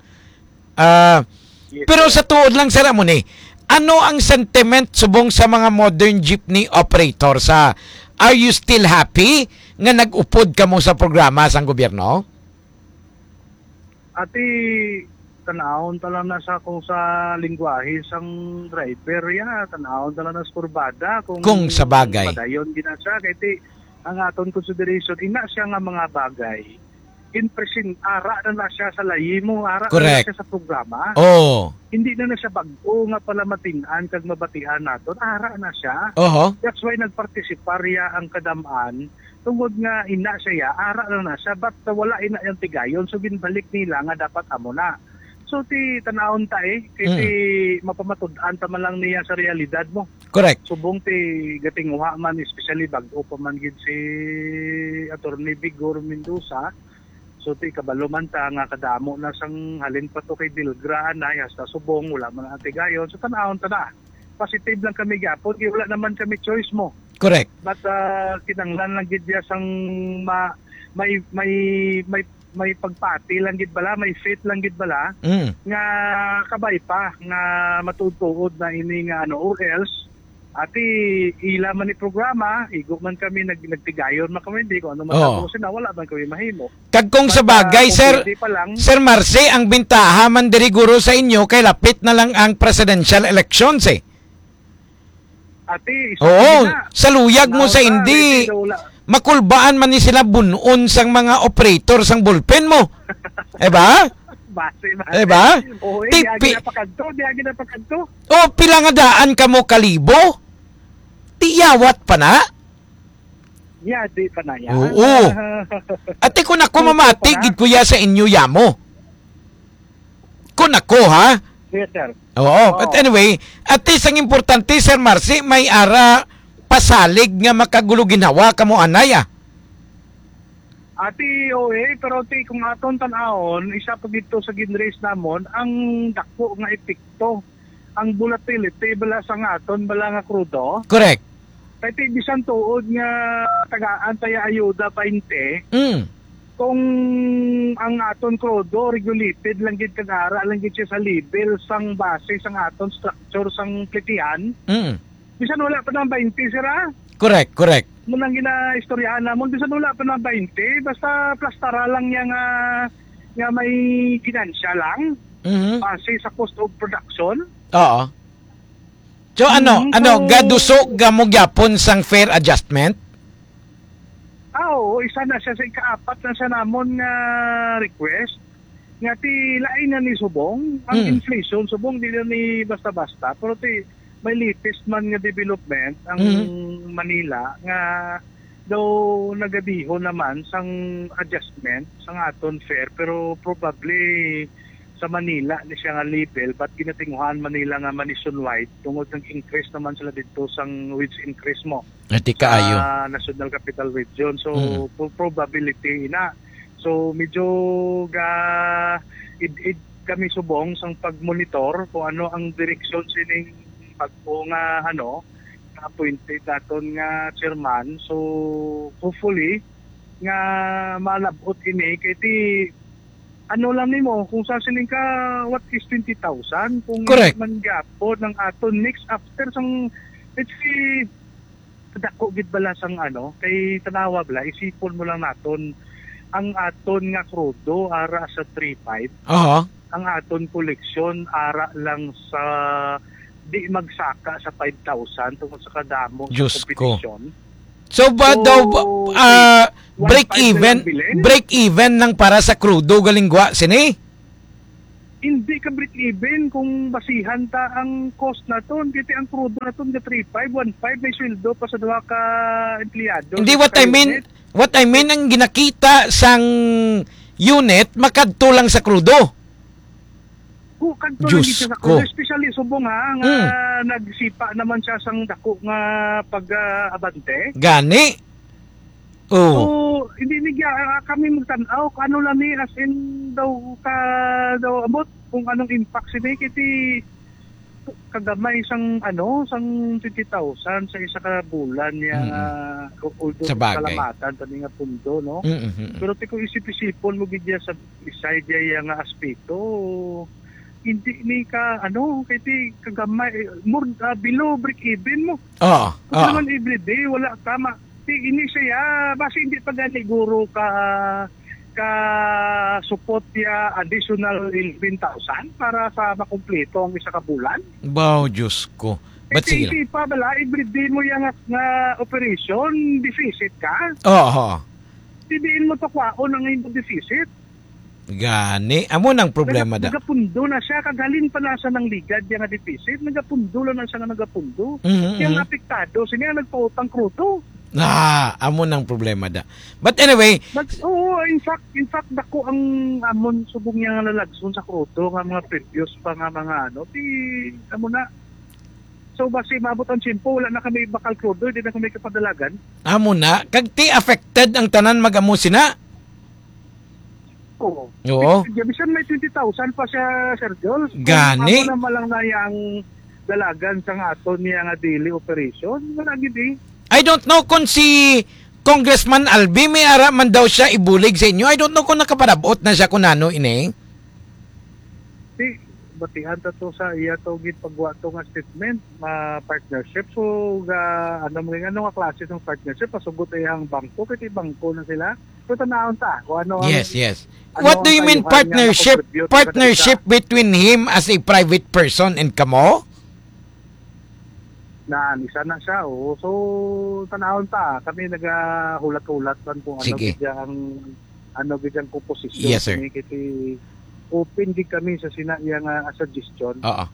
Ah, Yes, pero sir. sa tuod lang, sir, amo ni, ano ang sentiment subong sa mga modern jeepney operator? Sa, are you still happy nga nag-upod kamo sa programa sang gobyerno? Ati, tanawon ta lang na sa kung sa lingwahe sang driver, ya, tanawon ta lang na sa kurbada kung Kung sa bagay. padayon gina siya. Kay ti, ang aton consideration, ina siya nga mga bagay, in present, ara na na siya sa layi mo, ara na na Correct. siya sa programa. Oh. Hindi na na siya bag-o nga palamatin-an kag mabatian naton, ara na siya. Oho. That's why nagpartisipar ya ang kadam-an, tungod nga ina siya ya, ara na na siya, but wala ina yang tigayon, so ginbalik nila nga dapat amo na. So, ti tanawon ta eh, kay Mm. ti mapamatud-an ta man lang niya sa realidad mo. Correct. Subong ti gatinguha man, especially bag-o pa man gid si Attorney Vigor Mendoza. So, ti kabalo man ta nga kadamo na sang halin pa to kay Dilgra, anay, hasta subong, wala man ang tigayon. So, tanawon ta na. Positive lang kami gyapon, kay wala naman kami choice mo. Correct. But, ah, kinanglan lang gid ya sang ma-, may, may, may, may pagpati lang gid bala, may faith lang gid bala, Mm. nga kabay pa, nga matuod-tuod na ini nga ano, or else, ati, ila man ni programa, igo man kami, nag-, nagtigayon man kami, hindi ko ano man Oo. tapos na, wala man kami mahimo. Kag kung sa Basta bagay, kung sir, pwede pa lang. Sir Marcy, ang bintaha man diri guro sa inyo kay lapit na lang ang presidential elections eh. Ati, isa Oo, na. sa luyag mo Naon sa ka, hindi, hindi daw wala. makulbaan man ni sila bunon sang mga operator sang ballpen mo. Eh ba? Base, base. Eh ba? Oo, eh, Ti-, di agi pi- na pakadto, di agi na pakadto. O, pila nga daan kamo kalibo? Tiyawat pa na? Ya, di pa na yan. Oo. Ate, kung ako Tuto mamati, pa na. gid ko ya sa inyo, yamo. Kung ako, ha? Yes, sir. Oo, Oo. but anyway, at least ang importante, Sir Marcy, may ara pasalig nga makagulo ginhawa kamo anay, ah. Ati, O A, pero ti kung aton tan-awon, isa pa dito sa ginraise namon, ang dako nga epekto, ang volatility bala sa nga aton bala nga krudo. Correct. Kay ti bisan tuod nga tagaan tayo ayuda twenty, Mm. kung ang aton krudo regulated lang gid kag ara lang gid siya sa level sang base sang aton structure sang plitihan, Mm. bisan wala pa nang twenty, sir, ah. Correct, correct. Mo nang ginaistoryahan namon, bisan wala pa nang twenty, basta plastara lang niya nga, nga may ginansya lang, Mhm. base sa cost of production. Oo. So, ano, Mm, ano, so gaduso ga mo gyapon sang fare adjustment? Ah, oo, isa na siya sa ikaapat na siya namon nga request. Nga ti lain na ni subong, ang Mm. inflation, subong di na ni basta-basta, pero ti may latest man nga development ang Mm. Manila nga daw nagadihon naman sang adjustment sang aton fare, pero probably sa Manila ni siya nga level, but ginatinguhaan Manila nga ma-nationwide tungod kang increase naman sila dito sang wage increase mo Ati kaayo. sa National Capital Region. So, Mm. pro-, probability ina. So, medyo ga id-id kami subong sang pag-monitor kung ano ang direksyon sining bag-o nga, ano, nga appointed naton nga chairman. So, hopefully, nga malab-ot ini kay ti, ano lang nimo, kung sa siling ka, what is twenty thousand? Kung Correct. man gyapon ang aton next after sang It's a, dako gid bala sang ano, kay tanawa bala, isipon mo lang naton, ang aton nga krudo ara sa three five, Aha. ang aton koleksyon ara lang sa di magsaka sa five thousand tungod sa kadamo sa Diyos ko. Kompetisyon. So ba So, daw, ba- ah, break one five na even, lang bilin? Break even lang para sa krudo galing gwa sini? Hindi ka break even kung basihan ta ang cost naton. Kaya ang krudo naton nga three five, one five, may sweldo pa sa duha ka empleyado Hindi, sa what I mean, unit. What I mean, ang ginakita sang unit, makadto lang sa krudo. Kung kadto Diyos lang siya sa ko. Krudo, especially subong ha, nga Mm. nagsipa naman siya sang dako nga pag-abante. Gani? So, Oh. hindi ni ah, kami magtan-aw kung ano lang ni, as in daw ka daw abot kung anong impact sini kiti kagamay sang ano, sang twenty thousand sa isa ka bulan niya Mm-mm. nga, although Sa bagay. Salamatan kami nga pundo, no? Mm-mm. Pero ti kung isip-isipon mo gid niya sa side niya nga aspeto, hindi ni ka ano, kay ti kagamay, more, ah, below break even mo. Oo, Kung oo. naman everyday, wala ka ma-, ti ini siya, basi hindi pa gani guro ka, ka support ya additional eleven thousand para sa makumpleto ang isa ka bulan. Baw, Diyos ko. But Eh, sige lang. Isip pa bala, everyday mo yang nga, nga operation, deficit ka. Oo. Diin mo to kwaon ang imo deficit. Gani, amo nang problema Naga-, da. Nagapundo na siya, kag halin pa na sa nang ligad niya nga deficit, nagapundo lang na siya nga nagapundo. Mhm, Kaya mhm. nga apektado, siya nga nagpautang krudo. Ah, amo nang problema da. But anyway, But, oo, in fact, in fact, dako ang amon subong niya nga lalagson sa krudo nga mga previous pa nga mga ano, di, amo na. So, basi maabot ang tiyempo, wala na kami bakal krudo, di na kami kapadalagan. Amo na, kag ti affected ang tanan mag-amo sina? Oo. Oo. Di, di, bisan may twenty thousand pa siya, Sir Joel. Kung Gani. Amo naman lang na yang dalagan sang aton niya nga daily operation, wala gid eh. I don't know kung si Congressman Albi may ara man daw siya ibulig sa inyo. I don't know kung nakaparabot na siya kung ano ini. Di, batihan ta to sa iya to gid pagwa to nga statement, ma partnership. So, ga, ano mo, ano nga klase ng partnership? Pasugot ay ang bangko, kay bangko na sila. So, tanahon ta kung ano ang, Yes, yes. ano What ang do you mean kayuhan niya partnership? Makontribute sa Partnership isa. Between him as a private person and kamo? Na, isa na siya, oo. So, tanahon ta. Kami nagahulat-hulat man kung ano Sige. Gid ang, ano gid ang komposisyon Yes, sir. Kini, kasi open gid kami sa sina iya nga suggestion. Oo.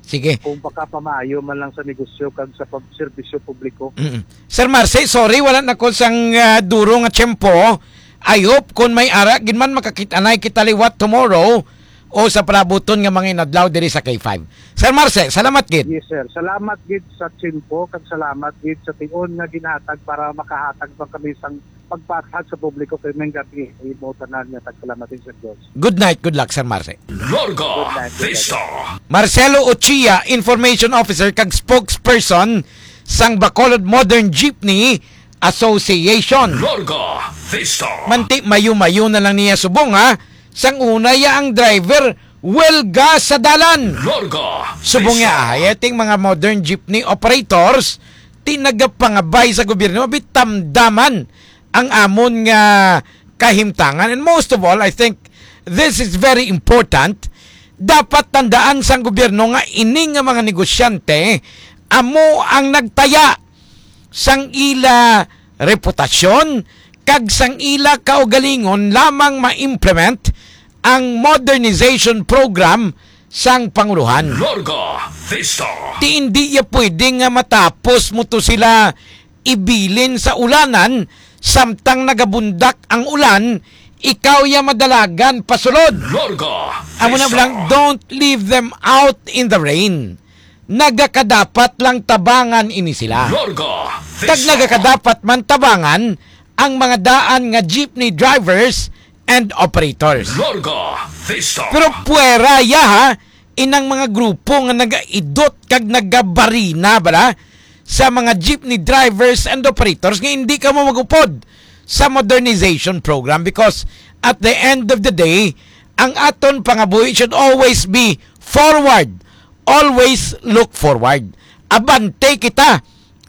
Sige. Kung baka pamaayo man lang sa negosyo kag sa pag-, serbisyo publiko. Mm-mm. Sir Marcy, sorry, wala na ko sang, ah, duro nga tiyempo. I hope kung may ara gid man makakita na kita liwat tomorrow o sa palabuton nga mga inadlaw diri sa K five. Sir Marcy, salamat gid. Yes, sir. Salamat gid sa tiyempo kag salamat gid sa tion nga ginhatag para makahatag pa kami sang pagpahayag sa publiko kay may gabi imo tanan nga tagpalamatin sa Dios. Good night, good luck, Sir Marcy. Larga Good night, good night. Vista. Marcelo Ochia, Information Officer kag Spokesperson sang Bacolod Modern Jeepney Association. Larga Vista. Manti mayo-mayo na lang niya subong, ha? Sang una ya ang driver, welga sa dalan. Larga Subong Vista. Ya, ay, ating mga modern jeepney operators, ti nagapangabay sa gobyerno, abi tamdaman ang amon nga kahimtangan. And most of all, I think this is very important. Dapat tandaan sang gobyerno nga ini nga mga negosyante amo ang nagtaya sang ila reputasyon kag sang ila kaugalingon lamang ma-implement ang modernization program sang pangulohan. Larga Vista. Ti indi ya pwede nga matapos mo to sila ibilin sa ulanan, samtang nagabundak ang ulan, ikaw ya madalagan pasulod. Larga Amo na Vista. Lang, don't leave them out in the rain. Nagakadapat lang tabangan ini sila. Larga Kag Vista. Nagakadapat man tabangan ang mga daan nga jeepney drivers and operators. Larga Vista. Pero puwera ya, ha, inang mga grupo nga nagaidot kag nagabarina bala sa mga jeepney drivers and operators nga hindi kamo magupod sa modernization program, because at the end of the day, ang aton pangabuhi should always be forward. Always look forward. Abante kita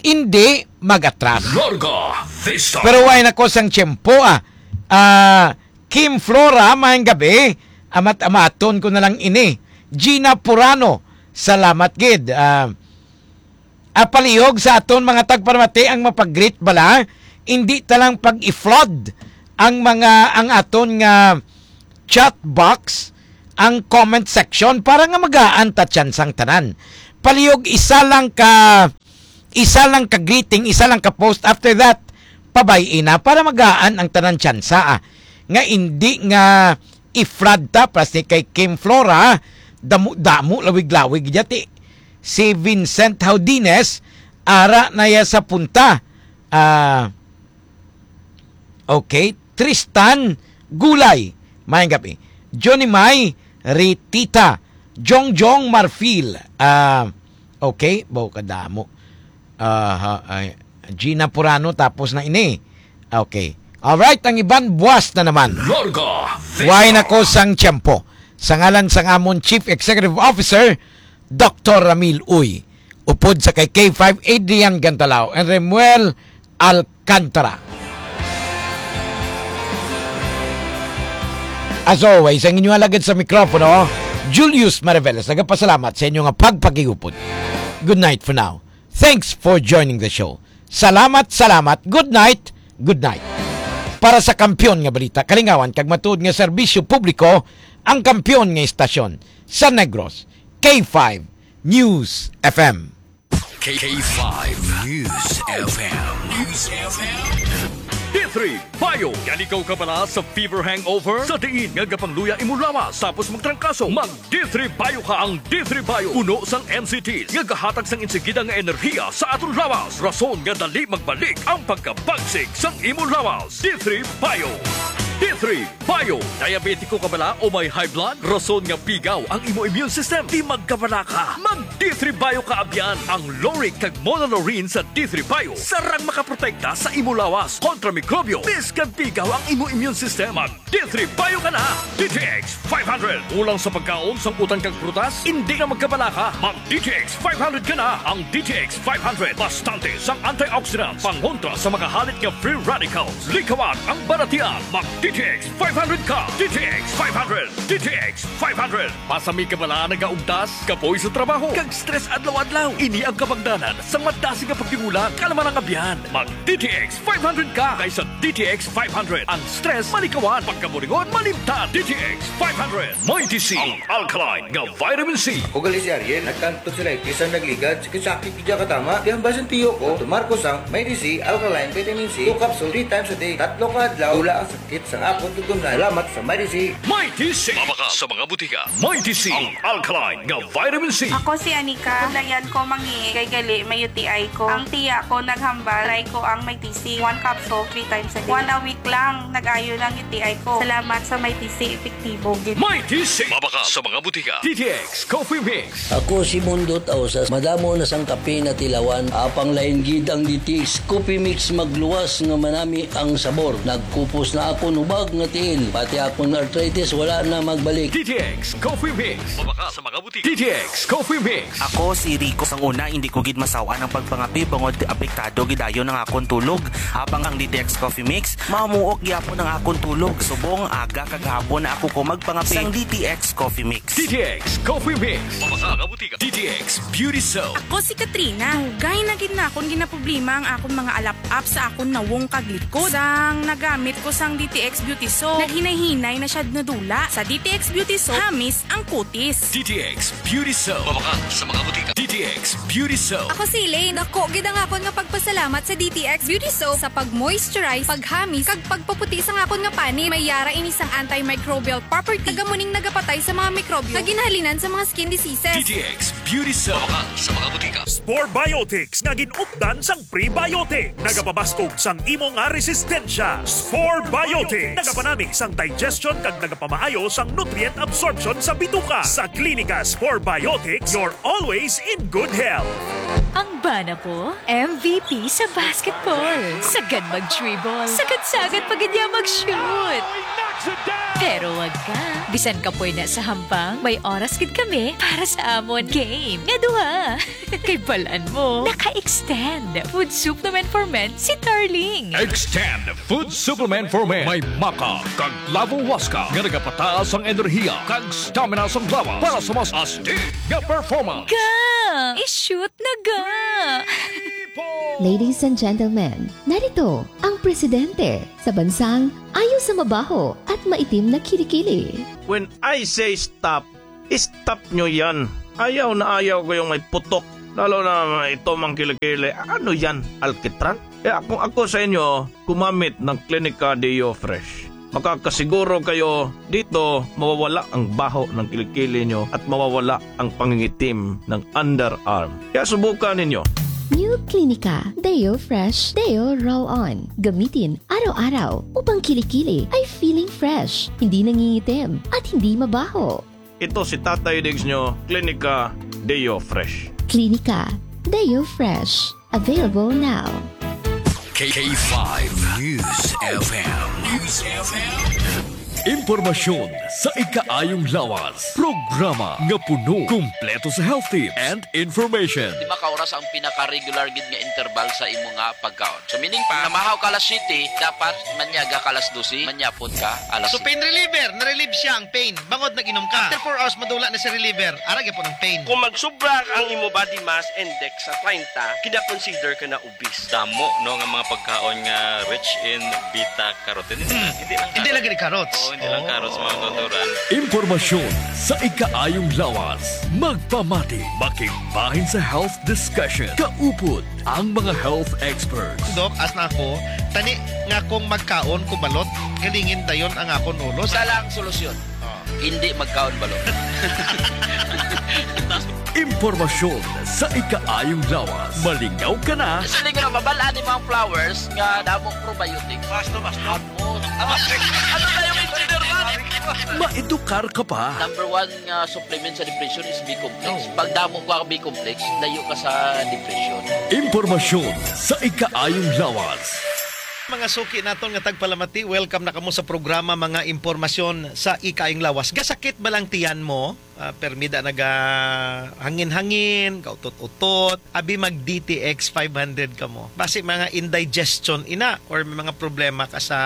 hindi mag-atras. Larga Vista. Pero way na ko sang tiyempo, ah. Ah, Kim Flora, maayong gabi. Amat-amaton ko na lang ini. Gina Purano, salamat gid. Ah, ah, palihog sa aton mga tagparamati ang mapag-greet bala. Hindi ta lang pag-i-flood ang mga, ang aton nga chat box, ang comment section, para nga magaan ta tsansang tanan. Palihog isa lang ka, isa lang ka greeting, isa lang ka post. After that, pabay-i na para magaan ang tanan tsansa, ah. Nga hindi nga i-flood ta, plastic kay Kim Flora, damo-damo, lawig-lawig dyan, ti. Si Vincent Haudines, ara na ya sa punta. Ah, okay. Tristan Gulay, maayong gabi. Johnny May Ritita, Jongjong Marfil. Ah, okay, baw kadamo. Aha, ay, Gina Purano, tapos na ini. Okay. Alright, ang iban, buwas na naman. Larga Vista. Way na ko sang tiyempo. Sa ngalan sang amon Chief Executive Officer, Doktor Ramil Uy, upod sa kay K five Adrian Gantalao and Remuel Alcantara. As always, ang inyo alagad sa mikropono, Julius Mariveles, nagapasalamat sa inyo nga pagpakigupod. Good night for now. Thanks for joining the show. Salamat, salamat. Good night, good night. Para sa kampiyon nga balita, kalingawan kag matuod nga serbisyo publiko, ang kampiyon nga istasyon sa Negros, K five News F M. K five News F M. News F M. D three Bio. Gani ka kabala sa fever hangover? Sa diin nga gapangluya imo lawas tapos magtrangkaso, mag D three Bio ka. Ang D three Bio puno sang N C Ts nga gahatag sang insigida nga enerhiya sa aton lawas, rason nga dali magbalik ang pagkabagsik sang imo lawas. D three Bio. D three Bio. Diabetiko ka bala o may high blood? Rason nga pigaw ang imo immune system. Di magkabala ka. Mag D three Bio ka abyan. Ang lauric kag monolaurin sa D three Bio sarang makaprotekta sa imo lawas kontra mikrobyo, bisan pigaw ang imo immune system. Mag D three Bio ka na. D T X five hundred. Kulang sa pagkaon, sang utan kag prutas? Indi na magkabala ka. Mag D T X five hundred ka na. Ang D T X five hundred bastante sang antioxidants, pangontra sa mga halit nga free radicals. Likawan ang balatian. Mag D T X five hundred ka. D T X five hundred. D T X five hundred. Basta may kabala, nagaugtas, kapoy sa trabaho, kag stress adlaw-adlaw. Ini ang kabangdanan sa madasig nga pagdingula, kalman ang abyan. Mag D T X five hundred ka, kay sa D T X five hundred, ang stress malikawan, pagkaburingon malimtan. D T X five hundred. Mighty C, ang alkaline nga vitamin C. Ako gali si Ariel, nagkantog sa lightis ang nagligad. Sakit-sakit gid katama. Kaya ang basin tiyo ko, tumar ko sang Mighty C alkaline vitamin C, two capsule, three times a day. Tatlo ka adlaw, wala ang sakit sa akon tutunlan. Salamat sa Mighty C. Mighty C. Mabakal sa mga butika. Mighty C, ang alkaline nga vitamin C. Ako si Anika. Dayan ko mangi kay gali may U T I ko. Ang tiya ko naghambal, try ko ang Mighty C. One capsule, three times a day. One a week lang, nag-ayo lang U T I ko. Salamat sa Mighty C, epektibo gid. Mighty C. Mabakal sa mga butika. D T X Coffee Mix. Ako si Mundot Ausas. Madamo na sang kape natilawan. Apang lain gid ang D T X Coffee Mix, magluwas nga manami ang sabor. Nagkupos na akon hubag nga tiil. Pati akon arthritis wala na magbalik. D T X Coffee Mix. Mabakal sa mga butika. D T X Coffee Mix. Ako si Rico. Sang una, hindi ko gid masaw-an ang pagpangape bangod apektado gid dayon ang akon tulog. Apang ang D T X Coffee Mix, mamuok gyapon ang akon tulog. Subong aga kag hapon na ako ko magpangape. Sang D T X Coffee Mix. D T X Coffee Mix. Mabakal sa mga butika. D T X Beauty Soap. Ako si Katrina. Dugay na gid na akon ginaproblema ang akon mga alap-ap sa akon nawong kag likod. Sang nagamit ko sang D T X Beauty Soap, naghinay-hinay na siya nadula. Sa D T X Beauty Soap, hamis ang kutis. D T X Beauty Soap. Mabakal sa mga butika. D T X Beauty Soap. Ako si Elaine. Dako gid ang akon nga pagpasalamat sa D T X Beauty Soap sa pag-moisturize, paghamis, kag pagpaputi sang akon nga panit. May yara ini sang antimicrobial property. Taga muning nagapatay sa mga mikrobyo nga ginhalinan sa mga skin diseases. D T X Beauty Soap. Mabakal sa mga butika. Spore Biotics nga gin-updan sang prebiotic. Nagapabaskog sang imo nga resistensya. Spore Biotics. Nagapanami sang digestion kag nagapamaayo sang nutrient absorption sa bituka. Sa Klinika Spore Biotics, you're always in good health. Ang bana ko, M V P sa basketball. Sagad mag-dribble. Sagad-sagad pa gid niya mag-shoot. Pero wag ka. Bisan kapoy na sa hambang, may oras gid kami para sa amon game nga duha. Kay balan mo, naka-extend Food Supplement for Men si Darling. Extend Food Supplement for Men. May maca kag clavo huasca nga nagapataas ang enerhiya kag stamina sang lawas para sa mas astig nga performance. Ga! I-shoot na ga! Ladies and gentlemen, narito ang presidente sa bansang ayaw sa mabaho at maitim na kilikili. When I say stop, stop nyo yan. Ayaw na ayaw ko yung may putok. Lalo na ito mang kilikili. Ano yan? Alkitran? Kaya kung ako sa inyo, gumamit ng Clinica Deo Fresh. Makakasiguro kayo dito mawawala ang baho ng kilikili nyo at mawawala ang pangingitim ng underarm. Kaya subukan ninyo. New Clinica Deo Fresh Deo Roll On. Gamitin araw-araw upang kilikili ay feeling fresh, hindi nangingitim, at hindi mabaho. Ito si Tatay Diggs nyo, Clinica Deo Fresh. Clinica Deo Fresh. Available now. K five News F M. News F M. Impormasyon sa ikaayong lawas. Programa nga puno, kumpleto sa health tips and information. Lima ka oras ang pinaka-regular gid nga interval sa imo nga pagkaon. So, meaning pa, namahaw ka alas siyete, dapat manyaga ka alas dose, manyapon ka alas So, siyete. Pain reliever, na-relieve siya ang pain. Bangod nag-inom ka. After four hours, madula na si reliever. Ara gyapon ang pain. Kung magsubra ang imo body mass index sa treinta, kina-consider ka na obese. Damo, no, nga mga pagkaon nga rich in beta carotene. Hindi lang, hindi lang carrots. Hindi lang carrots. Oo, hindi lang carrots, mga kautoran. Impormasyon sa ikaayong lawas. Magpamati, makigbahin sa health discussion. Kaupod ang mga health experts. Dok, as na ako, tani nga kung magkaon ko balot, galingin dayon ang akon ulo. Isa lang solusyon. Ah. Hindi magkaon balot. Impormasyon sa ikaayong lawas. Malingaw ka na. Siling ra, mabal-an ni mga flowers nga damong probiotics. Basta, basta. Ano, ano na yung engineer man? Maedukar ka pa. Number one nga supplement sa depression is B-complex. Oh. Pag damo ka B-complex, layo ka sa depression. Impormasyon sa ikaayong lawas. Mga suki naton nga tagpalamati, welcome na kamo sa programa Mga Impormasyon sa Ikaayong Lawas. Gasakit ba lang tiyan mo? Ah, permi da naga hangin-hangin, kautot-utot. Abi, mag D T X five hundred kamo. Basi mga indigestion ina or may mga problema ka sa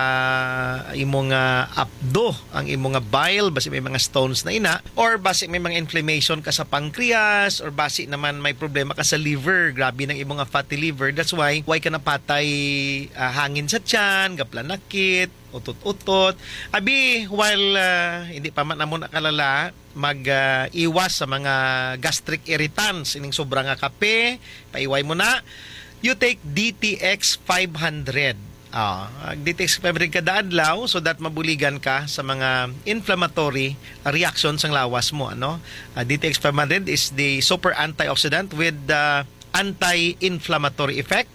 imo nga apdo, ang imo nga bile, basi may mga stones na ina, or basi may mga inflammation ka sa pancreas, or basi naman may problema ka sa liver, grabe nang imo nga fatty liver. That's why, why ka napatay, ah, hangin sa tiyan, gaplanakit, utot-utot. Abi, while, ah, hindi pa man amo nakalala, mag, ah, iwas sa mga gastric irritants, ining sobra nga kape, paiway mo na. You take D T X five hundred. Ah, ang D T X five hundred kada adlaw so that mabuligan ka sa mga inflammatory reaction sang lawas mo, ano? Ah, D T X five hundred is the super antioxidant with the anti-inflammatory effect,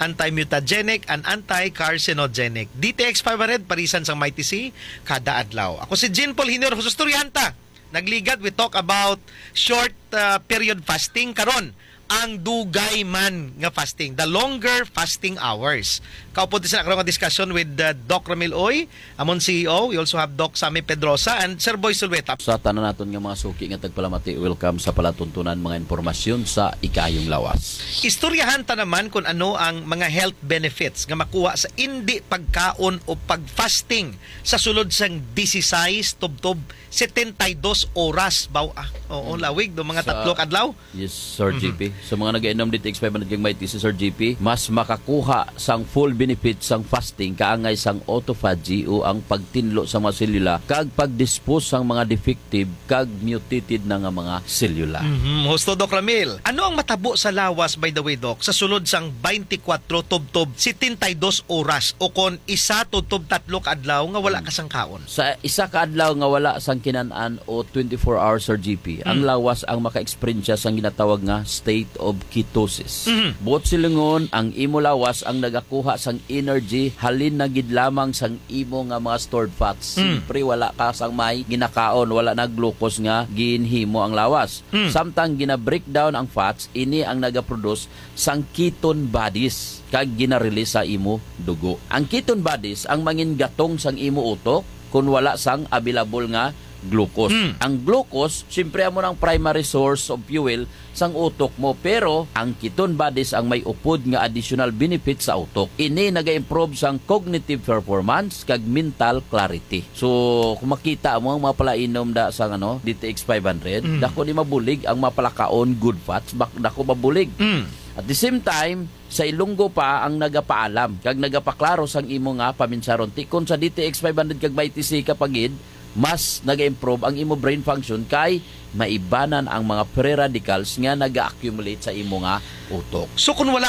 anti-mutagenic, and anti-carcinogenic. D T X five hundred, parisan sang Mighty C, kada adlaw. Ako si Jean Paul Junior, husto istoryahan ta. Nagligad, we talk about short, uh, period fasting. Karon, ang dugay man nga fasting, the longer fasting hours. Kaupod sa karon nga discussion with, uh, Doc Ramil Uy, amon C E O. We also have Doc Sammy Pedrosa and Sir Boy Sulweta. Sa tanan naton nga mga suki nga tagpalamati, welcome sa palatuntunan mga impormasyon sa Ikaayong Lawas. Istoryahan ta naman kung ano ang mga health benefits nga makuha sa indi pagkaon o pag-fasting sa sulod sang disisais tubtob setenta y dos oras, baw, ah. Oo, Mm. lawig, do mga Sa tatlo ka adlaw. Yes, Sir Mhm. G P. Sa mga nag-inom D T X five hundred kag Mighty C, Sir G P, mas makakuha sang full benefit sang fasting kaangay sang autophagy o ang pagtinlo sa mga selula kag pag-dispose sang mga defective kag mutated na nga mga selula. Mhm. Husto, Doc Ramil. Ano ang matabo sa lawas, by the way, Doc, sa sulod sang twenty-four tubtob setenta y dos oras o kon isa tubtob tatlo ka adlaw nga wala Mm. ka sang kaon? Sa isa ka adlaw nga wala sang kinan-an o twenty-four hours, Sir G P, ang Mm. lawas ang maka-eksperyensya sang ginatawag nga state of ketosis. Mhm. Buot silingon, ang imo lawas ang nagakuha sang energy halin na gid lamang sang imo nga mga stored fats. Mm. Siyempre, wala ka sang may ginakaon, wala na glucose nga ginhimo ang lawas. Mm. Samtang gina-breakdown ang fats, ini ang nagaproduce sang ketone bodies kag gina-release sa imo dugo. Ang ketone bodies ang mangin gatong sang imo utok, kung wala sang available nga glucose. Mm. Ang glucose, siyempre, amo nang primary source of fuel sang utok mo, pero ang ketone bodies ang may upod nga additional benefit sa utok. Ini naga-improve sang cognitive performance kag mental clarity. So, kung makita mo ang mga palainom da sang, ano, D T X five hundred, Mm. dako ni mabulig ang mga palakaon, good fats, bak-, dako mabulig. Mm. At the same time, sa Ilonggo pa ang nagapaalam kag nagapaklaro sang imo nga paminsaron. Tikon sa D T X five hundred kag Mighty C ka pagid, mas naga-improve ang imo brain function kay maibanan ang mga free radicals nga naga-accumulate sa imo nga utok. So, kung wala